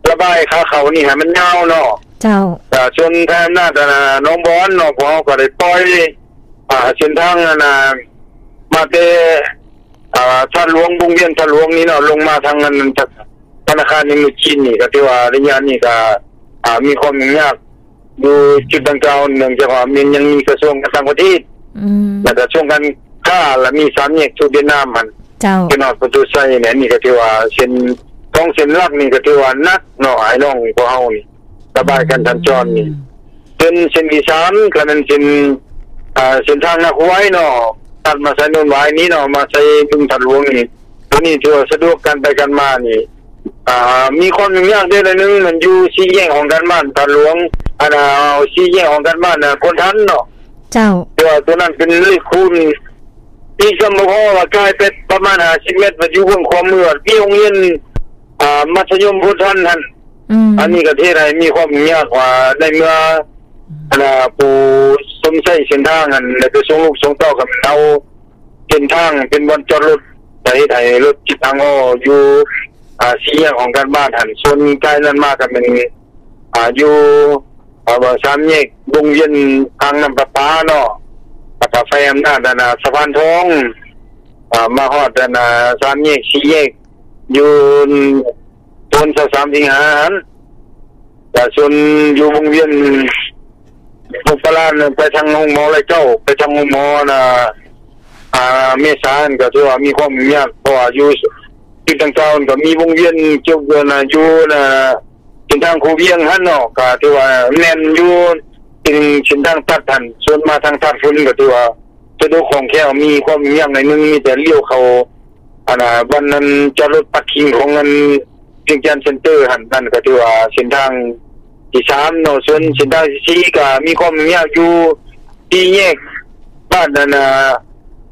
ລະບາຍຂາເຂົ້ານີ້ໃຫ້ມັນຍາວເນາະ. ເຈົ້າ. ແລ້ວສ່ວນໄພອຳນາດ ອັນ ໜອງບອນເນາະ ພວກເຮົາກໍໄດ້ປ່ອຍ ອ່າ ເສັ້ນທາງ ອັນ ມາແຕ່ ອ່າ ທາດຫຼວງ ວົງວຽນທາດຫຼວງນີ້ເນາະ ລົງມາທາງ ອັນ ທະນາຄານອິນໂດຈີນນີ້ ກໍຖືວ່າໄລຍະນີ້ກໍ ອ່າ ມີຄວາມຫຍຸ້ງຍາກ ຢູ່ຈຸດດັ່ງກ່າວ ເນື່ອງຈາກວ່າມັນຍັງມີກະຊວງການຕ່າງປະເທດ ອືມ ແລະກະຊວງການຄ້າ ແລະມີສາມແຍກທູດຫວຽດນາມຫັ້ນ ເຈົ້າ ເປັນຮອດປະຕູໄຊນີ້ ອັນນີ້ກໍຖືວ່າເສັ້ນ ສອງເສັ້ນຫຼັກນີ້ກໍຖືວ່າໜັກເນາະ ອ້າຍນ້ອງພວກເຮົານີ້ ລະບາຍການສັນຈອນນີ້. ອືມ. ເສັ້ນ ເສັ້ນທີສາມ ກໍແມ່ນເສັ້ນ ອ່າ ເສັ້ນທາງນາຄູວາຍເນາະ ຕັດມາໃສ່ໂນນຫວາຍນີ້ເນາະ ມາໃສ່ບຶງທາດຫຼວງນີ້ ໂຕນີ້ຖືວ່າສະດວກການໄປການມານີ້ ອ່າ ມີຄວາມຫຍຸ້ງຍາກໄດ້ໜ້ອຍໜຶ່ງ ມັນຢູ່ສີ່ແຍກຫ້ອງການບ້ານທາດຫຼວງ ອັນນ່າ ສີ່ແຍກຫ້ອງການບ້ານ ອ່າ ໂພນທັນເນາະ. ເຈົ້າ. ແຕ່ວ່າໂຕນັ້ນເປັນເລກຄູນ ອີກຈຳບໍ່ພໍວ່າກາຍໄປປະມານຫ້າສິບແມັດ ມັນຢູ່ເບື້ອງຂວາມື ມີໂຮງຮຽນ ອ່າ ມັດທະຍົມໂພນທັນຫັ້ນ. ອືມ. ອັນນີ້ກໍເຮັດໃຫ້ມີຄວາມຫຍຸ້ງຍາກວ່າ ໃນເມື່ອ ອັນນ່າ ຜູ້ຊົມໃຊ້ເສັ້ນທາງຫັ້ນ ໄດ້ໄປສົ່ງລູກສົ່ງເຕົ້າກັນເອົາ ເສັ້ນທາງເປັນບ່ອນຈອດລົດ ກໍເຮັດໃຫ້ລົດຕິດທາງອອກຢູ່ ອ່າ ສີ່ແຍກຫ້ອງການບ້ານຫັ້ນ. ສ່ວນກາຍນັ້ນມາກໍແມ່ນ ອ່າ ຢູ່ ອ່າ ສາມແຍກວົງວຽນອ່າງນ້ຳປະປາເນາະ ແລ້ວກໍໄຟອຳນາດ ອັນນ່າ ສະພານທອງ ອ່າ ມາຮອດ ອັນນ່າ ສາມແຍກ ສີ່ແຍກ ຢູ່ ໂຊນຊາວສາມສິງຫາຫັ້ນ ແລະ ສ່ວນຢູ່ວົງວຽນໂພນປະລານ ໄປທາງໂຮງໝໍໄລເກົ້າ ໄປທາງໂຮງໝໍນະ ອ່າ ເມສາຫັ້ນ ກໍຖືວ່າມີຄວາມຫຍຸ້ງຍາກ ເພາະວ່າຢູ່ຈຸດດັ່ງກ່າວ ມັນກໍມີວົງວຽນກ່ຽວກັບນະ ຢູ່ນະ ເສັ້ນທາງຄູວຽງຫັ້ນເນາະ ກໍຖືວ່າແໜ້ນຢູ່ ເປັນເສັ້ນທາງຕັດຫັ້ນ. ສ່ວນມາທາງທາດຝຸ່ນ ກໍຖືວ່າ ສະດວກຄ່ອງແຄ້ວ ມີຄວາມຫຍຸ້ງຍາກໜ້ອຍໜຶ່ງ ມີແຕ່ລ້ຽວເຂົ້າ ອັນນ່າ ບ່ອນນັ້ນຈອດລົດປາກກິງຂອງອັນວຽງຈັນເຊັນເຕີຫັ້ນ. ນັ້ນກໍຖືວ່າເສັ້ນທາງທີສາມເນາະ. ສ່ວນເສັ້ນທາງທີສີ່ກໍມີຄວາມຫຍຸ້ງຍາກຢູ່ສີ່ແຍກບ້ານ ອັນນ່າ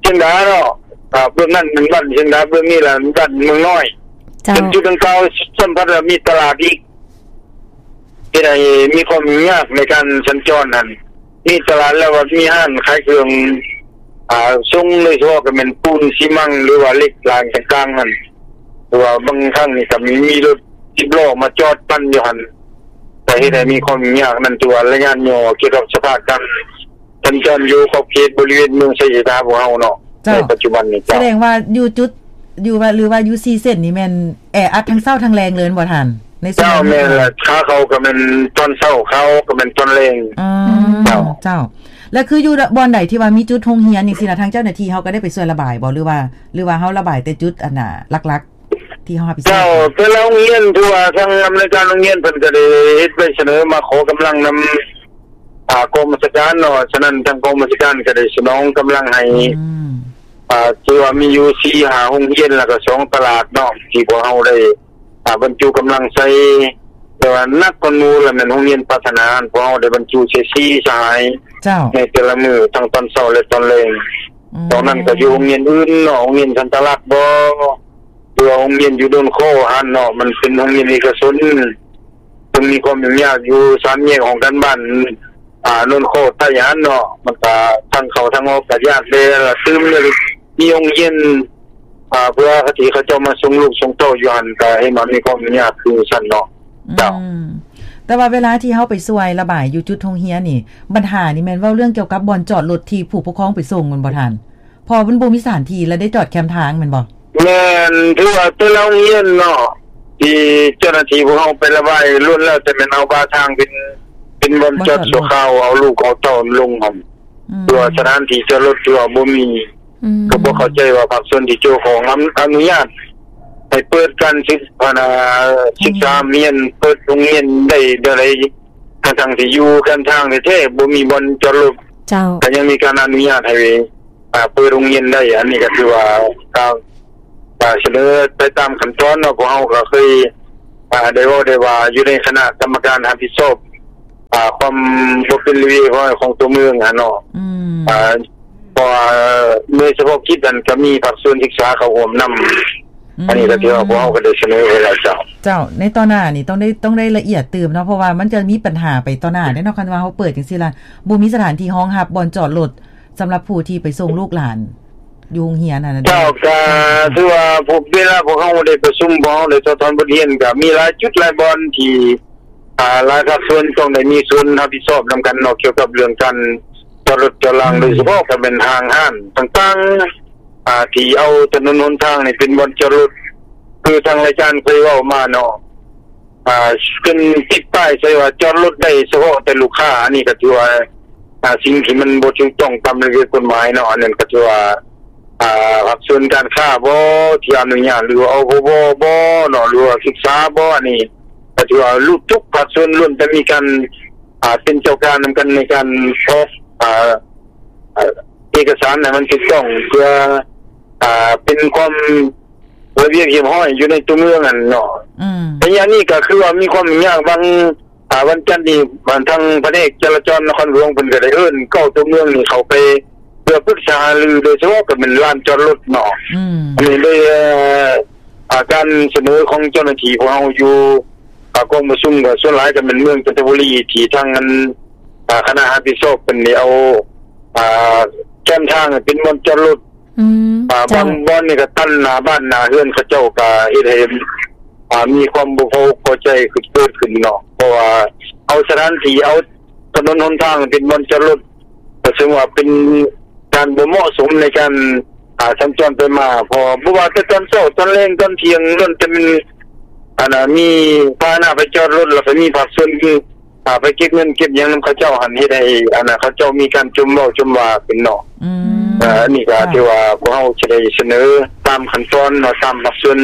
ຊຽງດາເນາະ ອ່າ ເບື້ອງນັ້ນແມ່ນບ້ານຊຽງດາ ເບື້ອງນີ້ລະບ້ານເມືອງນ້ອຍ. ເຈົ້າ. ເປັນຈຸດດັ່ງກ່າວ ຊ້ຳພັດວ່າມີຕະຫຼາດອີກ ເຮັດໃຫ້ມີຄວາມຫຍຸ້ງຍາກໃນການສັນຈອນຫັ້ນ. ມີຕະຫຼາດແລ້ວ ວ່າມີຮ້ານຂາຍເຄື່ອງ ອາ ສົ່ງ ໂດຍສະເພາະກໍແມ່ນປູນຊີມັງ ຫຼືວ່າເຫຼັກຫຼາງຕ່າງໆຫັ້ນ ຫຼືວ່າບາງຄັ້ງນີ້ກໍມີ ມີລົດສິບລໍ້ມາຈອດປັ່ນຢູ່ຫັ້ນ ກໍເຮັດໃຫ້ມີຄວາມຫຍຸ້ງຍາກ. ນັ້ນຖືວ່າໄລຍະຍ່ອ ກ່ຽວກັບສະພາບການສັນຈອນຢູ່ຂອບເຂດບໍລິເວນເມືອງໄຊເສດຖາພວກເຮົາເນາະ ເຈົ້າ ໃນປັດຈຸບັນນີ້. ສະແດງວ່າຢູ່ຈຸດ ຢູ່ວ່າ ຫຼືວ່າຢູ່ສີ່ເສັ້ນນີ້ແມ່ນແອອັດທັງເຊົ້າທັງແລງເລີຍແມ່ນບໍ່ທ່ານ? ໃນຊ່ວງ ເຈົ້າ ແມ່ນລະ ຂາເຂົ້າກໍແມ່ນຕອນເຊົ້າ ຂາອອກກໍແມ່ນຕອນແລງ. ອືມ ເຈົ້າ ເຈົ້າ ແລ້ວຄືຢູ່ບ່ອນໃດທີ່ວ່າມີຈຸດໂຮງຮຽນຈັ່ງຊີ້ນະ ທາງເຈົ້າໜ້າທີ່ເຮົາກໍໄດ້ໄປຊ່ວຍລະບາຍບໍ່ ຫຼືວ່າ ຫຼືວ່າເຮົາລະບາຍແຕ່ຈຸດອັນນ່າຫຼັກໆ ທີ່ເຮົາຮັບຜິດຊອບ? ເຈົ້າ ແຕ່ລະໂຮງຮຽນ ຖືວ່າທາງອຳນວຍການໂຮງຮຽນເພິ່ນກໍໄດ້ເຮັດໃບສະເໜີມາຂໍກຳລັງນຳ ອາ ກອງບັນຊາການເນາະ. ສະນັ້ນທາງກອງບັນຊາການກໍໄດ້ສະໜອງກຳລັງໃຫ້ ອືມ ອາ ຖືວ່າມີຢູ່ສີ່ຫ້າໂຮງຮຽນ ແລ້ວກໍສອງຕະຫຼາດເນາະ ທີ່ພວກເຮົາໄດ້ ອາ ບັນຈຸກຳລັງໃສ່. ແຕ່ວ່າໜັກກວ່າໝູ່ລະແມ່ນໂຮງຮຽນພັດທະນາ ພວກເຮົາໄດ້ບັນຈຸໃສ່ສີ່ສະຫາຍ ເຈົ້າ ໃນແຕ່ລະມື້ ທັງຕອນເຊົ້າ ແລະ ຕອນແລງ. ອືມ ນອກນັ້ນກໍຢູ່ໂຮງຮຽນອື່ນເນາະ ໂຮງຮຽນສັນຕະລັກບໍ ຫຼືວ່າໂຮງຮຽນຢູ່ໂນນຄໍຫັ້ນເນາະ ມັນເປັນໂຮງຮຽນເອກະຊົນ ເຊິ່ງມີຄວາມຫຍຸ້ງຍາກຢູ່ສາມແຍກຫ້ອງການບ້ານ ອາ ໂນນຄໍໃຕ້ຫັ້ນເນາະ ມັນກະທາງເຂົ້າທາງອອກກະຍາກແດ່ ລະຕື່ມ ມີໂຮງຮຽນ ອາ ເພື່ອທີ່ເຂົາເຈົ້າມາສົ່ງລູກສົ່ງເຕົ້າຢູ່ຫັ້ນ ກະເຫັນວ່າມີຄວາມຫຍຸ້ງຍາກຄືຊັ້ນເນາະ. ເຈົ້າ ອືມ ແຕ່ວ່າເວລາທີ່ເຮົາໄປຊ່ວຍລະບາຍຢູ່ຈຸດໂຮງຮຽນນີ້ ບັນຫານີ້ແມ່ນເວົ້າເລື່ອງກ່ຽວກັບບ່ອນຈອດລົດທີ່ຜູ້ປົກຄອງໄປສົ່ງແມ່ນບໍ່ທ່ານ? ເພາະມັນບໍ່ມີສະຖານທີ່ ແລະ ໄດ້ຈອດແຄມທາງແມ່ນບໍ່? ແມ່ນ ຖືວ່າແຕ່ລະໂຮງຮຽນເນາະ ທີ່ເຈົ້າໜ້າທີ່ພວກເຮົາໄປລະບາຍ ລ້ວນແລ້ວແຕ່ແມ່ນເອົາບາທາງເປັນ ເປັນບ່ອນຈອດຊົ່ວຄາວ ເອົາລູກເອົາເຕົ້າລົງຫັ້ນ ອືມ ເພາະວ່າສະຖານທີ່ຈອດລົດຖືວ່າບໍ່ມີ. ອືມ ກໍບໍ່ເຂົ້າໃຈວ່າພາກສ່ວນທີ່ກ່ຽວຂ້ອງອະ ອະນຸຍາດໃຫ້ເປີດການສຶກ ອັນນ່າ ສຶກສາຮຽນ ເປີດໂຮງຮຽນໄດ້ແນວໃດ ທັງໆທີ່ຢູ່ແຄມທາງແທ້ໆ ບໍ່ມີບ່ອນຈອດລົດ ເຈົ້າ ກໍຍັງມີການອະນຸຍາດໃຫ້ ອາ ເປີດໂຮງຮຽນໄດ້. ອັນນີ້ກໍຖືວ່າ ການ ການສະເໜີໄປຕາມຂັ້ນຕອນເນາະ ພວກເຮົາກໍເຄີຍ ອາ ໄດ້ເວົ້າໄດ້ວ່າຢູ່ໃນຄະນະກຳມະການຮັບຜິດຊອບ ອາ ຄວາມບໍ່ເປັນລະບຽບຮຽບຮ້ອຍຂອງຕົວເມືອງຫັ້ນເນາະ ອືມ ອາ ເພາະວ່າໜ່ວຍສະເພາະກິດນັ້ນກໍມີພາກສ່ວນສຶກສາເຂົ້າຮ່ວມນຳ ອືມ ອັນນີ້ກໍຖືວ່າພວກເຮົາກໍໄດ້ສະເໜີໄປແລ້ວ. ເຈົ້າ ເຈົ້າ ໃນຕໍ່ໜ້ານີ້ຕ້ອງໄດ້ ຕ້ອງໄດ້ລະອຽດຕື່ມເນາະ ເພາະວ່າມັນຈະມີບັນຫາໄປຕໍ່ໜ້າເດ້ເນາະ ຄັນວ່າເຮົາເປີດຈັ່ງຊີ້ລະ ບໍ່ມີສະຖານທີ່ຮອງຮັບບ່ອນຈອດລົດ ສຳລັບຜູ້ທີ່ໄປສົ່ງລູກຫຼານຢູ່ໂຮງຮຽນຫັ້ນນະ. ເຈົ້າ ກະຖືວ່າພວກ ເວລາພວກເຮົາໄດ້ປະຊຸມ ພວກເຮົາໄດ້ຖອດຖອນບົດຮຽນ ກະມີຫຼາຍຈຸດຫຼາຍບ່ອນທີ່ ອາ ຫຼາຍພາກສ່ວນຕ້ອງໄດ້ມີສ່ວນຮັບຜິດຊອບນຳກັນເນາະ ກ່ຽວກັບເລື່ອງການຈອດລົດຈອດລາງ ອືມ ໂດຍສະເພາະກໍແມ່ນຫ້າງຮ້ານຕ່າງໆ ອາ ທີ່ເອົາຖະໜົນຫົນທາງນີ້ເປັນບ່ອນຈອດລົດ ຄືທາງລາຍການເຄີຍເວົ້າມາເນາະ ອາ ຂຶ້ນຕິດປ້າຍໃສ່ວ່າຈອດລົດໄດ້ສະເພາະແຕ່ລູກຄ້າ ອັນນີ້ກໍຖືວ່າ ອາ ສິ່ງທີ່ມັນບໍ່ຖືກຕ້ອງຕາມລະບຽບກົດໝາຍເນາະ. ອັນນັ້ນກໍຖືວ່າ ອາ ພາກສ່ວນການຄ້າບໍທີ່ອະນຸຍາດ ຫຼືວ່າ ອພບ ບໍເນາະ ຫຼືວ່າສຶກສາບໍ ອັນນີ້ກໍຖືວ່າທຸກພາກສ່ວນລ້ວນແຕ່ມີການ ອາ ເປັນເຈົ້າການນຳກັນໃນການອອກ ອາ ເອກະສານໃຫ້ມັນຖືກຕ້ອງ ເພື່ອ ອາ ເປັນຄວາມ ລະບຽບຮຽບຮ້ອຍຢູ່ໃນຕົວເມືອງຫັ້ນເນາະ. ອືມ ໄລຍະນີ້ກໍຄືວ່າມີຄວາມຫຍຸ້ງຍາກບາງ ອາ ວັນຈັນນີ້ ທາງພະແນກຈະລາຈອນນະຄອນຫຼວງເພິ່ນກໍໄດ້ເອີ້ນເກົ້າຕົວເມືອງນີ້ເຂົ້າໄປ ເພື່ອປຶກສາຫາລື ໂດຍສະເພາະກໍແມ່ນລານຈອດລົດເນາະ. ອືມ ອັນນີ້ໂດຍ ອາ ການສະເໜີຂອງເຈົ້າໜ້າທີ່ພວກເຮົາຢູ່ ອາ ກອງປະຊຸມກໍສ່ວນຫຼາຍກໍແມ່ນເມືອງຈັນທະບູລີ ທີ່ທາງອັນ ອາ ຄະນະຮັບຜິດຊອບເພິ່ນໄດ້ເອົາ ອາ ແຄມທາງໃຫ້ເປັນບ່ອນຈອດລົດ ອືມ ອາ ເຈົ້າ ບາງບ່ອນນີ້ກໍຕັນໜ້າບ້ານໜ້າເຮືອນເຂົາເຈົ້າ ກໍເຮັດໃຫ້ ອາ ມີຄວາມບໍ່ພໍອົກພໍໃຈເກີດຂຶ້ນເນາະ ເພາະວ່າເອົາສະຖານທີ່ ເອົາຖະໜົນຫົນທາງເປັນບ່ອນຈອດລົດ ກໍເຊິ່ງວ່າເປັນການບໍ່ເໝາະສົມໃນການ ອາ ສັນຈອນໄປມາ ເພາະວ່າບໍ່ວ່າແຕ່ຕອນເຊົ້າ ຕອນແລງ ຕອນທ່ຽງ ລ້ວນແຕ່ແມ່ນ ອັນນ່າ ມີພາຫະນະໄປຈອດລົດ ແລ້ວກໍມີພາກສ່ວນ ອາ ໄປເກັບເງິນເກັບຫຍັງນຳເຂົາເຈົ້າຫັ້ນ ເຮັດໃຫ້ ອັນນ່າ ເຂົາເຈົ້າມີການຈົ່ມເວົ້າຈົ່ມວ່າຂຶ້ນເນາະ. ອືມ ເອີ ອັນນີ້ກໍ ເຈົ້າ ຖືວ່າພວກເຮົາຈະໄດ້ສະເໜີຕາມຂັ້ນຕອນເນາະ ຕາມພາກສ່ວນ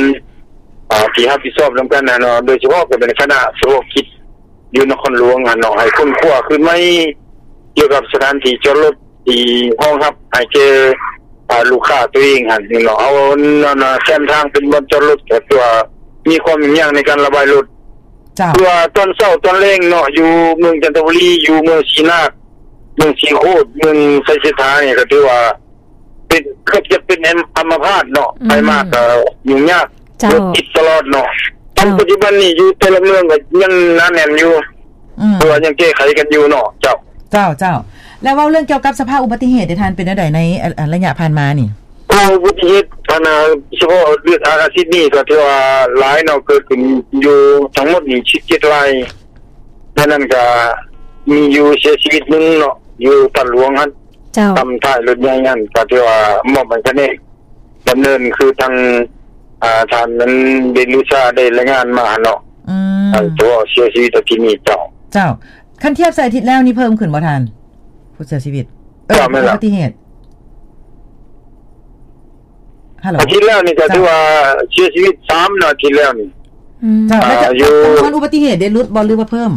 ອາ ທີ່ຮັບຜິດຊອບນຳກັນຫັ້ນເນາະ ໂດຍສະເພາະກໍເປັນຄະນະສະເພາະກິດຢູ່ນະຄອນຫຼວງຫັ້ນເນາະ ໃຫ້ຄົ້ນຄວ້າຄືນໃໝ່ກ່ຽວກັບສະຖານທີ່ຈອດລົດ ທີ່ຮອງຮັບໃຫ້ແກ່ ອາ ລູກຄ້າຕົວເອງຫັ້ນເນາະ ເອົາແຄມທາງເປັນບ່ອນຈອດລົດ ກໍຖືວ່າມີຄວາມຫຍຸ້ງຍາກໃນການລະບາຍລົດ. ເຈົ້າ ເພາະວ່າຕອນເຊົ້າຕອນແລງເນາະ ຢູ່ເມືອງຈັນທະບູລີ ຢູ່ເມືອງສີນາກ ເມືອງສີໂຄດ ເມືອງໄຊເສດຖານີ້ ກໍຖືວ່າເປັນ ເກືອບຈະເປັນອັມ ອັມມະພາດເນາະ. ອືມ ໄປມາກໍຫຍຸ້ງຍາກ ເຈົ້າ ລົດຕິດຕະຫຼອດເນາະ. ເຈົ້າ ປັດຈຸບັນນີ້ຢູ່ແຕ່ລະເມືອງກໍຍັງໜາແໜ້ນຢູ່ ອືມ ເພາະວ່າຍັງແກ້ໄຂກັນຢູ່ເນາະ ເຈົ້າ. ເຈົ້າ ເຈົ້າ ແລ້ວເວົ້າເລື່ອງກ່ຽວກັບສະພາບອຸບັດຕິເຫດເດທ່ານ ເປັນແນວໃດໃນ ອາ ອາ ໄລຍະຜ່ານມານີ້? ໂອ້ ອຸບັດຕິເຫດ ອັນນ່າ ສະເພາະເດືອນ ອາ ອາທິດນີ້ກໍຖືວ່າຫຼາຍເນາະ ເກີດຂຶ້ນຢູ່ທັງໝົດນີ້ສິບເຈັດລາຍ ໃນນັ້ນກໍມີຢູ່ເສຍຊີວິດໜຶ່ງເນາະ ຢູ່ທາດຫຼວງຫັ້ນ ເຈົ້າ ຕຳທ້າຍລົດໃຫຍ່ຫັ້ນ ກໍຖືວ່າມອບໃຫ້ພະແນກ ດຳເນີນ ຄືທາງ ອາ ທ່ານນັ້ນ ເດນລູຊາ ໄດ້ລາຍງານມາຫັ້ນເນາະ ອືມ ອັນຕົວເສຍຊີວິດອາທິດນີ້ ເຈົ້າ. ເຈົ້າ ຄັນທຽບໃສ່ອາທິດແລ້ວນີ້ເພີ່ມຂຶ້ນບໍ່ທ່ານ ຜູ້ເສຍຊີວິດ? ເອີ ເຈົ້າ ແມ່ນລະ ອຸບັດຕິເຫດ ຮັລໂຫຼ ອາທິດແລ້ວນີ້ກໍ ເຈົ້າ ຖືວ່າເສຍຊີວິດສາມເນາະ ອາທິດແລ້ວນີ້ ອືມ ເຈົ້າ ແລ້ວຈະ ອາ ຈຳນວນອຸບັດຕິເຫດໄດ້ຫຼຸດບໍ່ ຫຼືວ່າເພີ່ມ?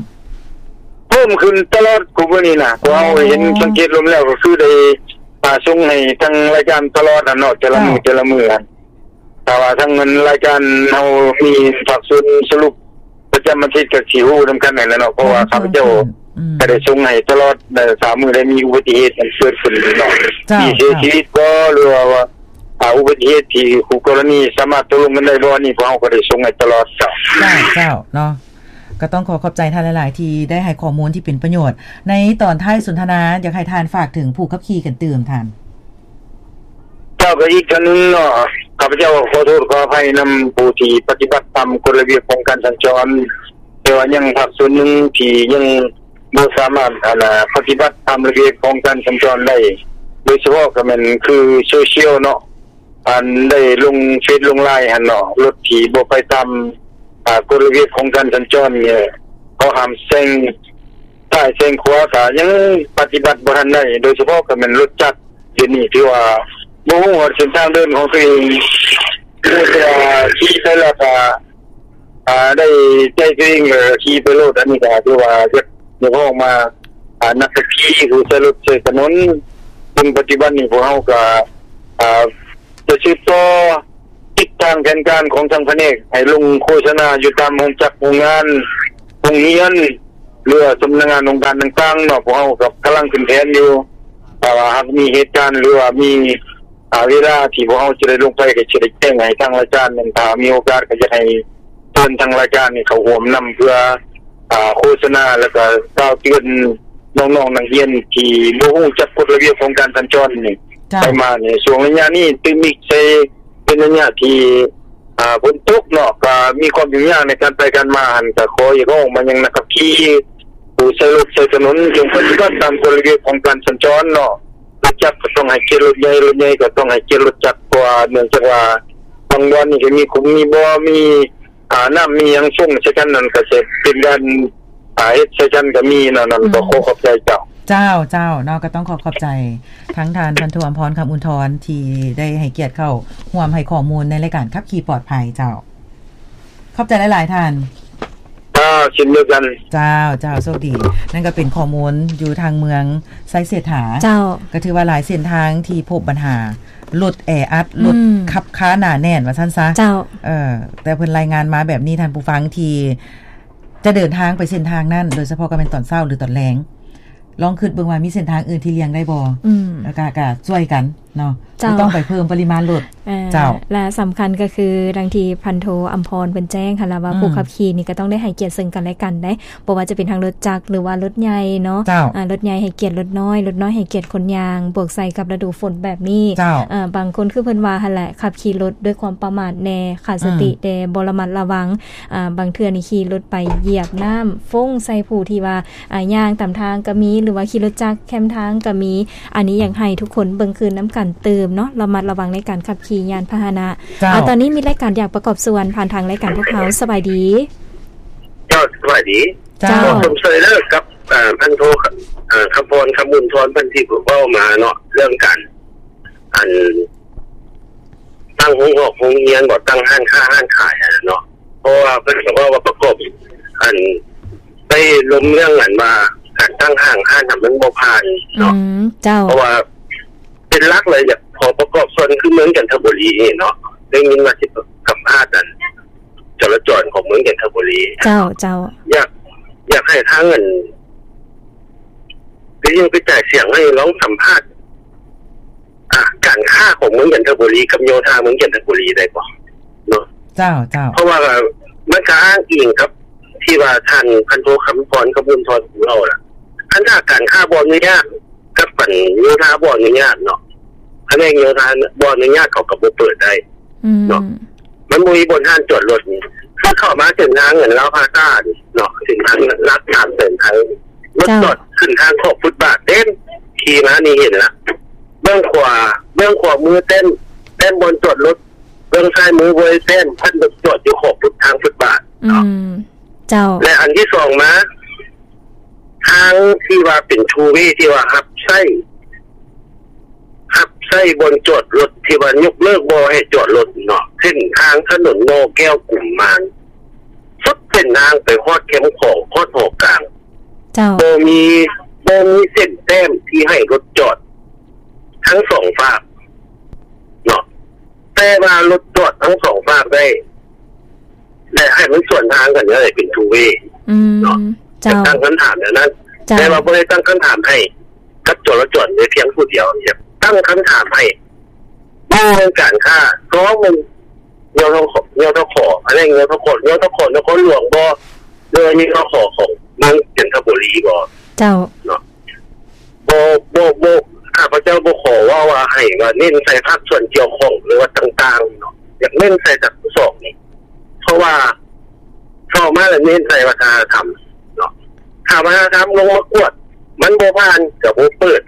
ເພີ່ມຂຶ້ນຕະຫຼອດ ຄູ່ມື້ນີ້ນະ ເພາະເຮົາເຫັນ ອໍ ສັງເກດລົມແລ້ວ ກໍຄືໄດ້ ອາ ສົ່ງໃຫ້ທາງລາຍການຕະຫຼອດຫັ້ນເນາະ ແຕ່ລະມື້ ເຈົ້າ ແຕ່ລະມື້ຫັ້ນ ຖ້າວ່າທາງເງິນລາຍການເຮົາມີພາກສ່ວນສະຫຼຸບປະຈຳອາທິດ ກໍຊິຮູ້ນຳກັນຫັ້ນແຫຼະເນາະ ເພາະວ່າຂ້າພະເຈົ້າ ອືມ ກໍໄດ້ສົ່ງໃຫ້ຕະຫຼອດ ເອີ ສາມມື້ໄດ້ມີອຸບັດຕິເຫດຫຍັງເກີດຂຶ້ນເນາະ ເຈົ້າ ທີ່ເສຍຊີວິດບໍ່ ຫຼືວ່າ ອາ ອຸບັດຕິເຫດທີ່ຄູ່ກໍລະນີສາມາດຕົກລົງກັນໄດ້ບໍ່ ອັນນີ້ພວກເຮົາກໍໄດ້ສົ່ງໃຫ້ຕະຫຼອດ ເຈົ້າ. ເຈົ້າ ເຈົ້າ ເນາະ ກໍຕ້ອງຂໍຂອບໃຈທ່ານຫຼາຍໆ ທີ່ໄດ້ໃຫ້ຂໍ້ມູນທີ່ເປັນປະໂຫຍດ. ໃນຕອນທ້າຍສົນທະນາ ຢາກໃຫ້ທ່ານຝາກເຖິງຜູ້ຂັບຂີ່ກັນຕື່ມທ່ານ. ເຈົ້າ ກໍອີກເທື່ອໜຶ່ງເນາະ ຂ້າພະເຈົ້າຂໍໂທດຂໍອະໄພນຳຜູ້ທີ່ປະຕິບັດຕາມກົດລະບຽບຂອງການສັນຈອນ ແຕ່ວ່າຍັງພາກສ່ວນໜຶ່ງທີ່ຍັງບໍ່ສາມາດ ອັນນ່າ ປະຕິບັດຕາມລະບຽບຂອງການສັນຈອນໄດ້ ໂດຍສະເພາະກໍແມ່ນຄືໂຊຊຽວເນາະ ອັນໄດ້ລົງເຟສລົງລາຍຫັ້ນເນາະ ລົດທີ່ບໍ່ໄປຕາມ ອາ ກົດລະບຽບຂອງການສັນຈອນນີ້ ເຂົາຫ້າມແຊງຊ້າຍແຊງຂວາ ກໍຍັງປະຕິບັດບໍ່ທັນໄດ້ ໂດຍສະເພາະກໍແມ່ນລົດຈັກ ດຽວນີ້ຖືວ່າບໍ່ຮູ້ຮອດເສັ້ນທາງເດີນຂອງຕົວເອງ ແຕ່ວ່າຂີ່ໄປແລ້ວກໍ ອາ ໄດ້ໃຈຕົວເອງ ແລ້ວກໍຂີ່ໄປໂລດ. ອັນນີ້ກໍຖືວ່າຢາກ ຢາກຮ້ອງມາ ອາ ນັກຂັບຂີ່ຜູ້ໃຊ້ລົດໃຊ້ຖະໜົນ ເຊິ່ງປັດຈຸບັນນີ້ພວກເຮົາກໍ ອາ ຈະສືບຕໍ່ຕິດຕາມແຜນການຂອງທາງພະແນກ ໃຫ້ລົງໂຄສະນາຢູ່ຕາມໂຮງຈັກໂຮງງານ ໂຮງຮຽນ ຫຼືວ່າສຳນັກງານອົງການຕ່າງໆເນາະ ພວກເຮົາກໍກຳລັງຂຶ້ນແຜນຢູ່ ຖ້າວ່າຫາກມີເຫດການ ຫຼືວ່າມີ ອາ ເວລາທີ່ພວກເຮົາຈະໄດ້ລົງໄປ ກໍຈະໄດ້ແຈ້ງໃຫ້ທາງລາຍການນັ້ນ ຖ້າມີໂອກາດກໍຢາກໃຫ້ເຊີນທາງລາຍການນີ້ເຂົ້າຮ່ວມນຳ ເພື່ອ ອາ ໂຄສະນາ ແລ້ວກໍກ່າວເຕືອນນ້ອງໆນັກຮຽນທີ່ບໍ່ຮູ້ຈັກກົດລະບຽບຂອງການສັນຈອນນີ້ ເຈົ້າ ໄປມານີ້ ຊ່ວງໄລຍະນີ້ຕື່ມອີກໃສ່ເປັນໄລຍະທີ່ ອາ ຝົນຕົກເນາະ ກໍມີຄວາມຫຍຸ້ງຍາກໃນການໄປການມາຫັ້ນ ກໍຂໍຮຽກຮ້ອງມາຍັງນັກຂັບຂີ່ ຜູ້ໃຊ້ລົດໃຊ້ຖະໜົນ ຈົ່ງປະຕິບັດຕາມກົດລະບຽບຂອງການສັນຈອນເນາະ ລົດຈັກກໍຕ້ອງໃຫ້ກຽດລົດໃຫຍ່ ລົດໃຫຍ່ກໍຕ້ອງໃຫ້ກຽດລົດຈັກ ເພາະວ່າເນື່ອງຈາກວ່າບາງບ່ອນນີ້ກໍມີຂຸມມີບໍ່ ມີ ອາ ນ້ຳມີຫຍັງຊົງໃສ່ກັນນັ້ນ ກໍຈະເປັນການ ອາ ເຮັດໃສ່ກັນກໍມີເນາະ ນັ້ນກໍ ອືມ ຂໍຂອບໃຈເຈົ້າ. ເຈົ້າ ເຈົ້າເນາະ ກໍຕ້ອງຂໍຂອບໃຈທັງທ່ານພັນໂທ ອຳພອນ ຄຳອຸ່ນທອນ ທີ່ໄດ້ໃຫ້ກຽດເຂົ້າຮ່ວມໃຫ້ຂໍ້ມູນໃນລາຍການຂັບຂີ່ປອດໄພເຈົ້າ. ຂອບໃຈຫຼາຍໆທ່ານ. ເຈົ້າ ເຊັ່ນດຽວກັນ. ເຈົ້າ ເຈົ້າ ໂຊກດີ. ນັ້ນກໍເປັນຂໍ້ມູນຢູ່ທາງເມືອງໄຊເສດຖາ. ເຈົ້າ. ກໍຖືວ່າຫຼາຍເສັ້ນທາງທີ່ພົບບັນຫາລົດແອອັດ ອືມ ລົດຂັບຄາໜາແໜ້ນວ່າຊັ້ນຊະ. ເຈົ້າ. ເອີ ແຕ່ເພິ່ນລາຍງານມາແບບນີ້ ທ່ານຜູ້ຟັງທີ່ຈະເດີນທາງໄປເສັ້ນທາງນັ້ນ ໂດຍສະເພາະກໍແມ່ນຕອນເຊົ້າ ຫຼື ຕອນແລງ ລອງຄິດເບິ່ງວ່າມີເສັ້ນທາງອື່ນທີ່ລ່ຽງໄດ້ບໍ່? ອືມ ແລ້ວກະ ກະຊ່ວຍກັນເນາະ. ເຈົ້າ ບໍ່ຕ້ອງໄປເພີ່ມປະລິມານລົດ. ເຈົ້າ ແລະ ສຳຄັນກໍຄື ດັ່ງທີ່ພັນໂທ ອຳພອນ ເພິ່ນແຈ້ງຫັ້ນລະວ່າ ອືມ ຜູ້ຂັບຂີ່ນີ້ກໍຕ້ອງໄດ້ໃຫ້ກຽດເຊິ່ງກັນແລະກັນເດ້ ບໍ່ວ່າຈະເປັນທັງລົດຈັກ ຫຼືວ່າລົດໃຫຍ່ເນາະ. ເຈົ້າ. ອາ ລົດໃຫຍ່ໃຫ້ກຽດລົດນ້ອຍ ລົດນ້ອຍໃຫ້ກຽດຄົນຍ່າງ ບວກໃສ່ກັບລະດູຝົນແບບນີ້. ເຈົ້າ. ອາ ບາງຄົນຄືເພິ່ນວ່າຫັ້ນແຫຼະ ຂັບຂີ່ລົດດ້ວຍຄວາມປະໝາດແດ່ ຂາດສະຕິ ອືມ ແດ່ ບໍ່ລະມັດລະວັງ. ອາ ບາງເທື່ອນີ້ຂີ່ລົດໄປຢຽບນ້ຳຟົ້ງໃສ່ຜູ້ທີ່ວ່າ ອາ ຍ່າງຕາມທາງກໍມີ ຫຼືວ່າຂີ່ລົດຈັກແຄມທາງກໍມີ. ອັນນີ້ຢາກໃຫ້ທຸກຄົນເບິ່ງຄືນນຳກັນຕື່ມເນາະ ລະມັດລະວັງໃນການຂັບຂີ່ຍານພາຫະນະ. ເຈົ້າ. ອາ ຕອນນີ້ມີລາຍການຢາກປະກອບສ່ວນຜ່ານທາງລາຍການພວກເຮົາ. ສະບາຍດີ. ເຈົ້າ ສະບາຍດີ. ເຈົ້າ. ຂໍຊົມເຊີຍເດີກັບ ເອີ ພັນໂທ ເອີ ຄຳພອນ ຄຳບຸນທອນ ເພິ່ນທີ່ເວົ້າມາເນາະ ເລື່ອງການ ອັນ ຕັ້ງໂຮງຮອກໂຮງຮຽນບໍ ຕັ້ງຮ້ານຄ້າຮ້ານຂາຍຫັ້ນແຫຼະເນາະ ເພາະວ່າເພິ່ນກໍເວົ້າວ່າປະກອບ ອັນ ໄດ້ລົມເລື່ອງ ອັນວ່າການຕັ້ງຫ້າງຮ້ານນະ ມັນບໍ່ຜ່ານເນາະ. ອືມ ເຈົ້າ. ເພາະວ່າເປັນຫຼັກເລີຍ ຢາກຂໍປະກອບສ່ວນຄືເມືອງຈັນທະບູລີນີ້ເນາະ ໄດ້ຍິນວ່າຊິສຳພາດ ອັນ ຈະລາຈອນຂອງເມືອງຈັນທະບູລີ. ເຈົ້າ ເຈົ້າ. ຢາກ ຢາກໃຫ້ທາງ ອັນ ໄປຍິງໄປຈ່າຍສຽງໃຫ້ລອງສຳພາດ ອາ ການຄ້າຂອງເມືອງຈັນທະບູລີກັບໂຍທາເມືອງຈັນທະບູລີໄດ້ບໍ່ເນາະ? ເຈົ້າ ເຈົ້າ. ເພາະວ່າ ມັນກໍອ້າງອີງກັບທີ່ວ່າທ່ານພັນໂທ ຄຳພອນ ຄຳບຸນທອນ ເວົ້າລະ ຄັນຖ້າການຄ້າບໍ່ອະນຸຍາດ ກັບອັນໂຍທາບໍ່ອະນຸຍາດເນາະ ພະແນກໂຍທາບໍ່ອະນຸຍາດ ເຂົາກໍບໍ່ເປີດໄດ້ເນາະ ອືມ ມັນບໍ່ມີບ່ອນຮ້ານຈອດລົດນີ້ ຄືເຂົ້າມາເສັ້ນທາງອັນລາວພາຊານີ້ເນາະ ເສັ້ນທາງຫຼັກສາມແສນໄທ ລົດ ເຈົ້າ ຈອດຂຶ້ນທາງຂອບຟຸດບາດເຕັມ ຂີ່ມານີ້ເຫັນລະ ເບື້ອງຂວາ ເບື້ອງຂວາມືເຕັມ ເຕັມບ່ອນຈອດລົດ ເບື້ອງຊ້າຍມືບໍ່ໄດ້ເຕັມ ພັດລົດຈອດຢູ່ຂອບຟຸດ ທາງຟຸດບາດເນາະ ອືມ ເຈົ້າ ແລະ ອັນທີສອງມາ ທາງທີ່ວ່າເປັນທູເວ ທີ່ວ່າຮັບໃຊ້ ຮັບໃຊ້ບ່ອນຈອດລົດ ທີ່ວ່າຍົກເລີກບໍ່ໃຫ້ຈອດລົດເນາະ ເສັ້ນທາງຖະໜົນໜໍ່ແກ້ວ ກຸມມານ ສຸດເສັ້ນທາງໄປຮອດແຄມຂອງ ຮອດຫໍກາງ ເຈົ້າ ບໍ່ມີ ບໍ່ມີເສັ້ນແຕ້ມທີ່ໃຫ້ລົດຈອດທັງສອງຟາກເນາະ ແຕ່ວ່າລົດຈອດທັງສອງຟາກໄດ້ ແລະ ໃຫ້ມັນສວນທາງກັນເລີຍ ເປັນທູເວ ອືມ ເນາະ ເຈົ້າ ຢາກຕັ້ງຄຳຖາມແນວນັ້ນ ເຈົ້າ ແຕ່ວ່າບໍ່ໄດ້ຕັ້ງຄຳຖາມໃຫ້ກັບຈໍລະຈອນແຕ່ພຽງຜູ້ດຽວ ຢາກຕັ້ງຄຳຖາມໃຫ້ເລື່ອງການຄ້າ ສອງ ມັນ ຍທຂ ຍທຂ ພະແນກ ຍທຂ ຍທຂ ນະຄອນຫຼວງບໍ່ ຫຼືວ່າ ຍທຂ ຂອງເມືອງຈັນທະບູລີບໍ່ ເຈົ້າ ເນາະ ບໍ່ ບໍ່ ບໍ່ ຂ້າພະເຈົ້າບໍ່ຂໍເວົ້າວ່າໃຫ້ວ່າເນັ້ນໃສ່ພາກສ່ວນກ່ຽວຂ້ອງ ຫຼືວ່າຕ່າງໆເນາະ ຢາກເນັ້ນໃສ່ທັງສອງນີ້ ເພາະວ່າເຂົ້າມາແລ້ວເນັ້ນໃສ່ວັດທະນະທຳເນາະ ຖ້າວັດທະນະທຳລົງມາກວດ ມັນບໍ່ຜ່ານກໍບໍ່ເປີດ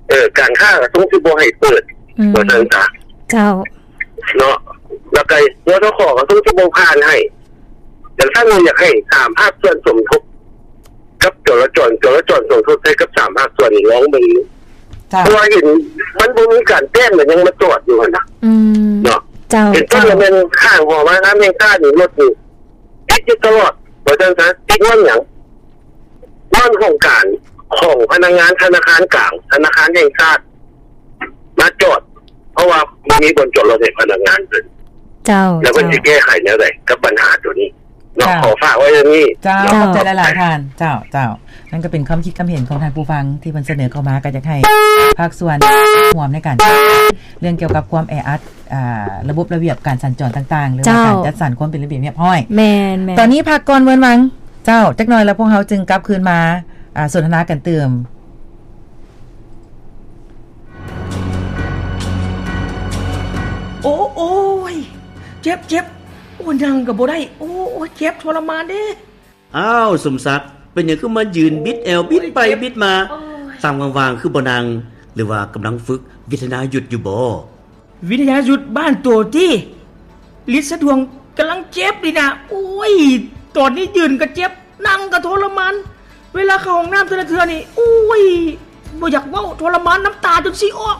ເອີ ການຄ້າກໍຊົງຊິບໍ່ໃຫ້ເປີດ ອືມ ວ່າຊັ້ນຊະ ເຈົ້າ ເນາະ ແລ້ວກໍ ຍທຂ ກໍຊົງຊິບໍ່ຜ່ານໃຫ້ ຈັ່ງຊັ້ນຢາກໃຫ້ສາມພາກສ່ວນສົມທົບ ກັບຈໍລະຈອນ ຈໍລະຈອນສົມທົບໃຫ້ກັບສາມພາກສ່ວນນີ້ລອງເບິ່ງ ເຈົ້າ ເພາະວ່າເຫັນມັນບໍ່ມີການແຕ້ມ ແລ້ວຍັງມາຈອດຢູ່ຫັ້ນນະ ອືມ ເນາະ ເຈົ້າ ເປັນຕົ້ນ ເຈົ້າ ແມ່ນຂ້າງຫໍວັດທະນະທຳແຫ່ງຊາດນີ້ ລົດນີ້ຕິດຢູ່ຕະຫຼອດ ວ່າຊັ້ນຊະ ຕິດຍ້ອນຫຍັງ? ຍ້ອນໂຄງການຂອງພະນັກງານທະນາຄານກາງ ທະນາຄານແຫ່ງຊາດ ມາຈອດ ເພາະວ່າບໍ່ມີບ່ອນຈອດລົດໃຫ້ພະນັກງານເພິ່ນ ເຈົ້າ ແລ້ວເພິ່ນ ເຈົ້າ ຊິແກ້ໄຂແນວໃດກັບບັນຫາໂຕນີ້ເນາະ ເຈົ້າ ຂໍຝາກໄວ້ເທົ່ານີ້ ເຈົ້າ ເນາະ ຂອບໃຈຫຼາຍໆ ທ່ານ ເຈົ້າ ເຈົ້າ ນັ້ນກໍເປັນຄຳຄິດຄຳເຫັນຂອງທ່ານຜູ້ຟັງທີ່ເພິ່ນສະເໜີເຂົ້າມາ ກໍຢາກໃຫ້ພາກສ່ວນຮ່ວມໃນການ ເລື່ອງກ່ຽວກັບຄວາມແອອັດ ອ່າ ລະບົບລະບຽບການສັນຈອນຕ່າງໆ ຫຼືວ່າ ເຈົ້າ ການຈັດສັນຄວາມເປັນລະບຽບຮຽບຮ້ອຍ ແມ່ນໆ ຕອນນີ້ພັກກ່ອນເວີນວັງ ເຈົ້າ ຈັກໜ່ອຍແລ້ວພວກເຮົາຈຶ່ງກັບຄືນມາ ອ່າ ສົນທະນາກັນຕື່ມ. ໂອ້ ໂອ້ຍ ເຈັບ ເຈັບ ໂອ້ ນັ່ງກໍບໍ່ໄດ້ ໂອ້ຍ ເຈັບທໍລະມານເດ້. ອ້າວ ສົມສັກ ເປັນຫຍັງຄືມາຢືນບິດແອວ ໂອ້ຍ ບິດໄປ ເຈັບ ບິດມາ ໂອ້ຍ ຕາມວ່າງໆ ຄືບໍ່ນັ່ງ ຫຼືວ່າກຳລັງຝຶກວິທະຍາຍຸດຢູ່ບໍ? ວິທະຍາຍຸດບ້ານໂຕຕິ ລິດສະດວງກຳລັງເຈັບນີ້ນະ ໂອ້ຍ ຕອນນີ້ຢືນກໍເຈັບ ນັ່ງກໍທໍລະມານ ເວລາເຂົ້າຫ້ອງນ້ຳແຕ່ລະເທື່ອນີ້ ໂອ້ຍ ບໍ່ຢາກເວົ້າ ທໍລະມານ ນ້ຳຕາຈົນຊິອອກ.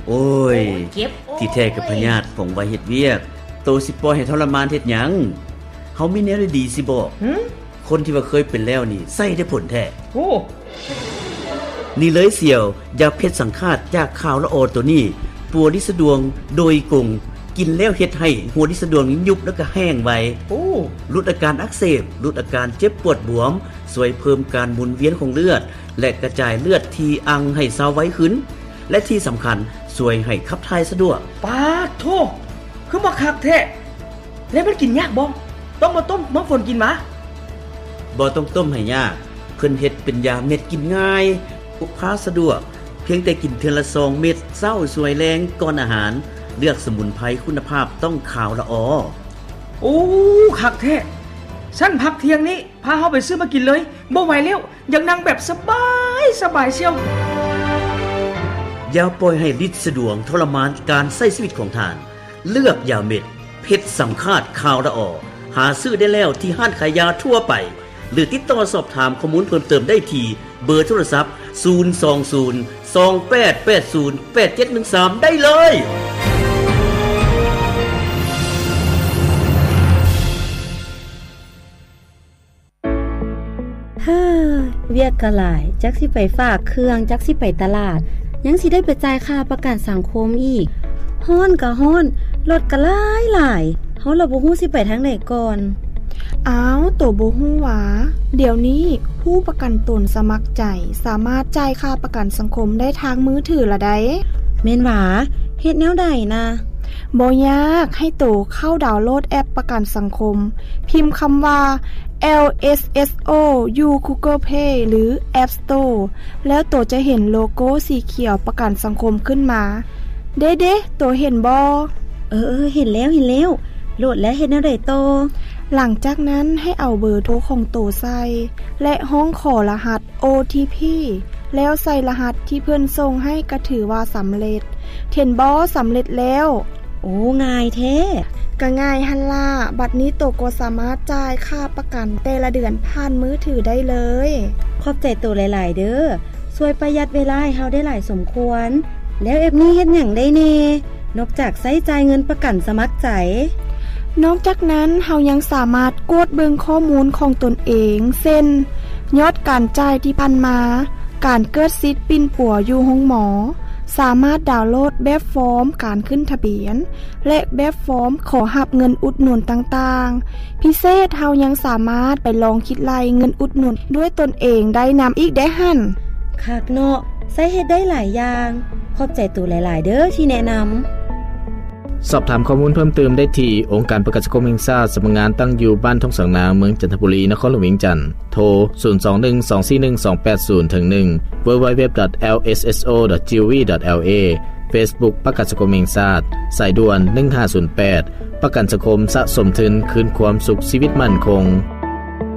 ໂອ້ຍ ໂອ້ຍ ເຈັບ ໂອ້ຍ ທີ່ແທ້ກໍພະຍາດຟອງໄວເຮັດວຽກ ໂຕຊິປ່ອຍໃຫ້ທໍລະມານເຮັດຫຍັງ? ເຮົາມີແນວດີໆຊິບອກ ຫຶ? ຄົນທີ່ວ່າເຄີຍເປັນແລ້ວນີ້ ໃຊ້ໄດ້ຜົນແທ້. ໂອ້ ນີ້ເລີຍສ່ຽວ ຢາເພັດສັງຄາດຈາກຂ່າວລະອໍໂຕນີ້ ປົວລິດສະດວງໂດຍກົງ ກິນແລ້ວເຮັດໃຫ້ຫົວລິດສະດວງຍຸບ ແລ້ວກໍແຫ້ງໄວ. ໂອ້ ຫຼຸດອາການອັກເສບ ຫຼຸດອາການເຈັບປວດບວມ ຊ່ວຍເພີ່ມການໝູນວຽນຂອງເລືອດ ແລະ ກະຈາຍເລືອດທີ່ອັ່ງໃຫ້ຊາວໄວຂຶ້ນ ແລະ ທີ່ສຳຄັນ ຊ່ວຍໃຫ້ຂັບຖ່າຍສະດວກ. ປາດໂທ້ ຄືມາຄັກແທ້! ແລ້ວມັນກິນຍາກບໍ່? ຕ້ອງມາຕົ້ມມາຝົນກິນຫວາ? ບໍ່ຕ້ອງຕົ້ມໃຫ້ຍາກ, ເພິ່ນເຮັດເປັນຢາເມັດກິນງ່າຍ, ພົກພາສະດວກ, ພຽງແຕ່ກິນເທື່ອລະສອງເມັດ, ເຊົ້າ, ສວຍ, ແລງ, ກ່ອນອາຫານ. ເລືອກສະໝຸນໄພຄຸນນະພາບຕ້ອງຂາວລະອໍ. ໂອ້ ຄັກແທ້! ຊັ້ນພັກທ່ຽງນີ້ ພາເຮົາໄປຊື້ມາກິນເລີຍ, ບໍ່ໄຫວແລ້ວ, ຢາກນັ່ງແບບສະບາຍ, ສະບາຍສ່ຽວ. ຢ່າປ່ອຍໃຫ້ລິດສະດວງທໍລະມານການໃຊ້ຊີວິດຂອງທ່ານ. ເລືອກຢາເມັດເພັດສັງຄາດຂາວລະອໍ, ຫາຊື້ໄດ້ແລ້ວທີ່ຮ້ານຂາຍຢາທົ່ວໄປ ຫຼື ຕິດຕໍ່ສອບຖາມຂໍ້ມູນເພີ່ມເຕີມໄດ້ທີ່ເບີໂທລະສັບ ສູນສອງສູນ ສອງແປດແປດສູນ ແປດເຈັດໜຶ່ງສາມ ໄດ້ເລີຍ. ເຮີ ວຽກກໍຫຼາຍ, ຈັກຊິໄປຝາກເຄື່ອງ, ຈັກຊິໄປຕະຫຼາດ, ຍັງຊິໄດ້ໄປຈ່າຍຄ່າປະກັນສັງຄົມອີກ. ຮ້ອນກໍຮ້ອນ, ລົດກໍຫຼາຍໆ, ເຮົາລະບໍ່ຮູ້ຊິໄປທາງໃດກ່ອນ. ອ້າວ, ໂຕບໍ່ຮູ້ຫວາ? ດຽວນີ້ຜູ້ປະກັນຕົນສະໝັກໃຈ ສາມາດຈ່າຍຄ່າປະກັນສັງຄົມໄດ້ທາງມືຖືລະໃດ໋. ແມ່ນຫວາ? ເຮັດແນວໃດນະ? ບໍ່ຍາກ, ໃຫ້ໂຕເຂົ້າດາວໂຫຼດແອັບປະກັນສັງຄົມ, ພິມຄຳວ່າ ແອລ ເອສ ເອສ ໂອ ຢູ່ Google Play ຫຼື App Store ແລ້ວໂຕຈະເຫັນໂລໂກ້ສີຂຽວປະກັນສັງຄົມຂຶ້ນມາ. ເດ້ໆ, ໂຕເຫັນບໍ່? ເອີໆ, ເຫັນແລ້ວ, ເຫັນແລ້ວ. ໂຫຼດແລ້ວເຮັດແນວໃດຕໍ່? ຫຼັງຈາກນັ້ນໃຫ້ເອົາເບີໂທຂອງໂຕໃສ່ ແລະ ຮ້ອງຂໍລະຫັດ ໂອ ທີ ພີ ແລ້ວໃສ່ລະຫັດທີ່ເພິ່ນສົ່ງໃຫ້ກໍຖືວ່າສຳເລັດ. ເຫັນບໍ່? ສຳເລັດແລ້ວ. ໂອ້ ງ່າຍແທ້. ກໍງ່າຍຫັ້ນລະ. ບັດນີ້ໂຕກໍສາມາດຈ່າຍຄ່າປະກັນແຕ່ລະເດືອນຜ່ານມືຖືໄດ້ເລີຍ. ຂອບໃຈໂຕຫຼາຍໆເດີ້. ຊ່ວຍປະຢັດເວລາໃຫ້ເຮົາໄດ້ຫຼາຍສົມຄວນ. ແລ້ວແອັບນີ້ເຮັດຫຍັງໄດ້ແດ່? ນອກຈາກໃຊ້ຈ່າຍເງິນປະກັນສະໝັກໃຈ. ນອກຈາກນັ້ນ, ເຮົາຍັງສາມາດກວດເບິ່ງຂໍ້ມູນຂອງຕົນເອງ ເຊັ່ນ ຍອດການຈ່າຍທີ່ຜ່ານມາ, ການເກີດສິດປິ່ນປົວຢູ່ໂຮງໝໍ, ສາມາດດາວໂຫຼດແບບຟອມການຂຶ້ນທະບຽນ ແລະ ແບບຟອມຂໍຮັບເງິນອຸດໜູນຕ່າງໆ. ພິເສດ, ເຮົາຍັງສາມາດໄປລອງຄິດໄລ່ເງິນອຸດໜູນດ້ວຍຕົນເອງໄດ້ນຳອີກເດ້ຫັ້ນ. ຄັກເນາະ, ໃຊ້ເຮັດໄດ້ຫຼາຍຢ່າງ. ຂອບໃຈໂຕຫຼາຍໆເດີ້ທີ່ແນະນຳ. ສອບຖາມຂໍ້ມູນເພີ່ມເຕີມໄດ້ທີ່ ອົງການປະກັນສັງຄົມແຫ່ງຊາດ, ສຳນັກງານຕັ້ງຢູ່ບ້ານທົ່ງສາງນາງ, ເມືອງຈັນທະບູລີ, ນະຄອນຫຼວງວຽງຈັນ. ໂທ ສູນສອງໜຶ່ງ ສອງສີ່ໜຶ່ງ ສອງແປດສູນ ເຖິງ ໜຶ່ງ ເວີເວີເວັບ ດອດ ແອລ ເອສ ເອສ ໂອ ດອດ ຈີ ໂອ ວີ ດອດ ແອລ ເອ ເຟສບຸກ ປະກັນສັງຄົມແຫ່ງຊາດ, ສາຍດ່ວນ ໜຶ່ງຫ້າສູນແປດ ປະກັນສັງຄົມສະສົມທຶນຄືນຄວາມສຸກຊີວິດໝັ້ນຄົງ.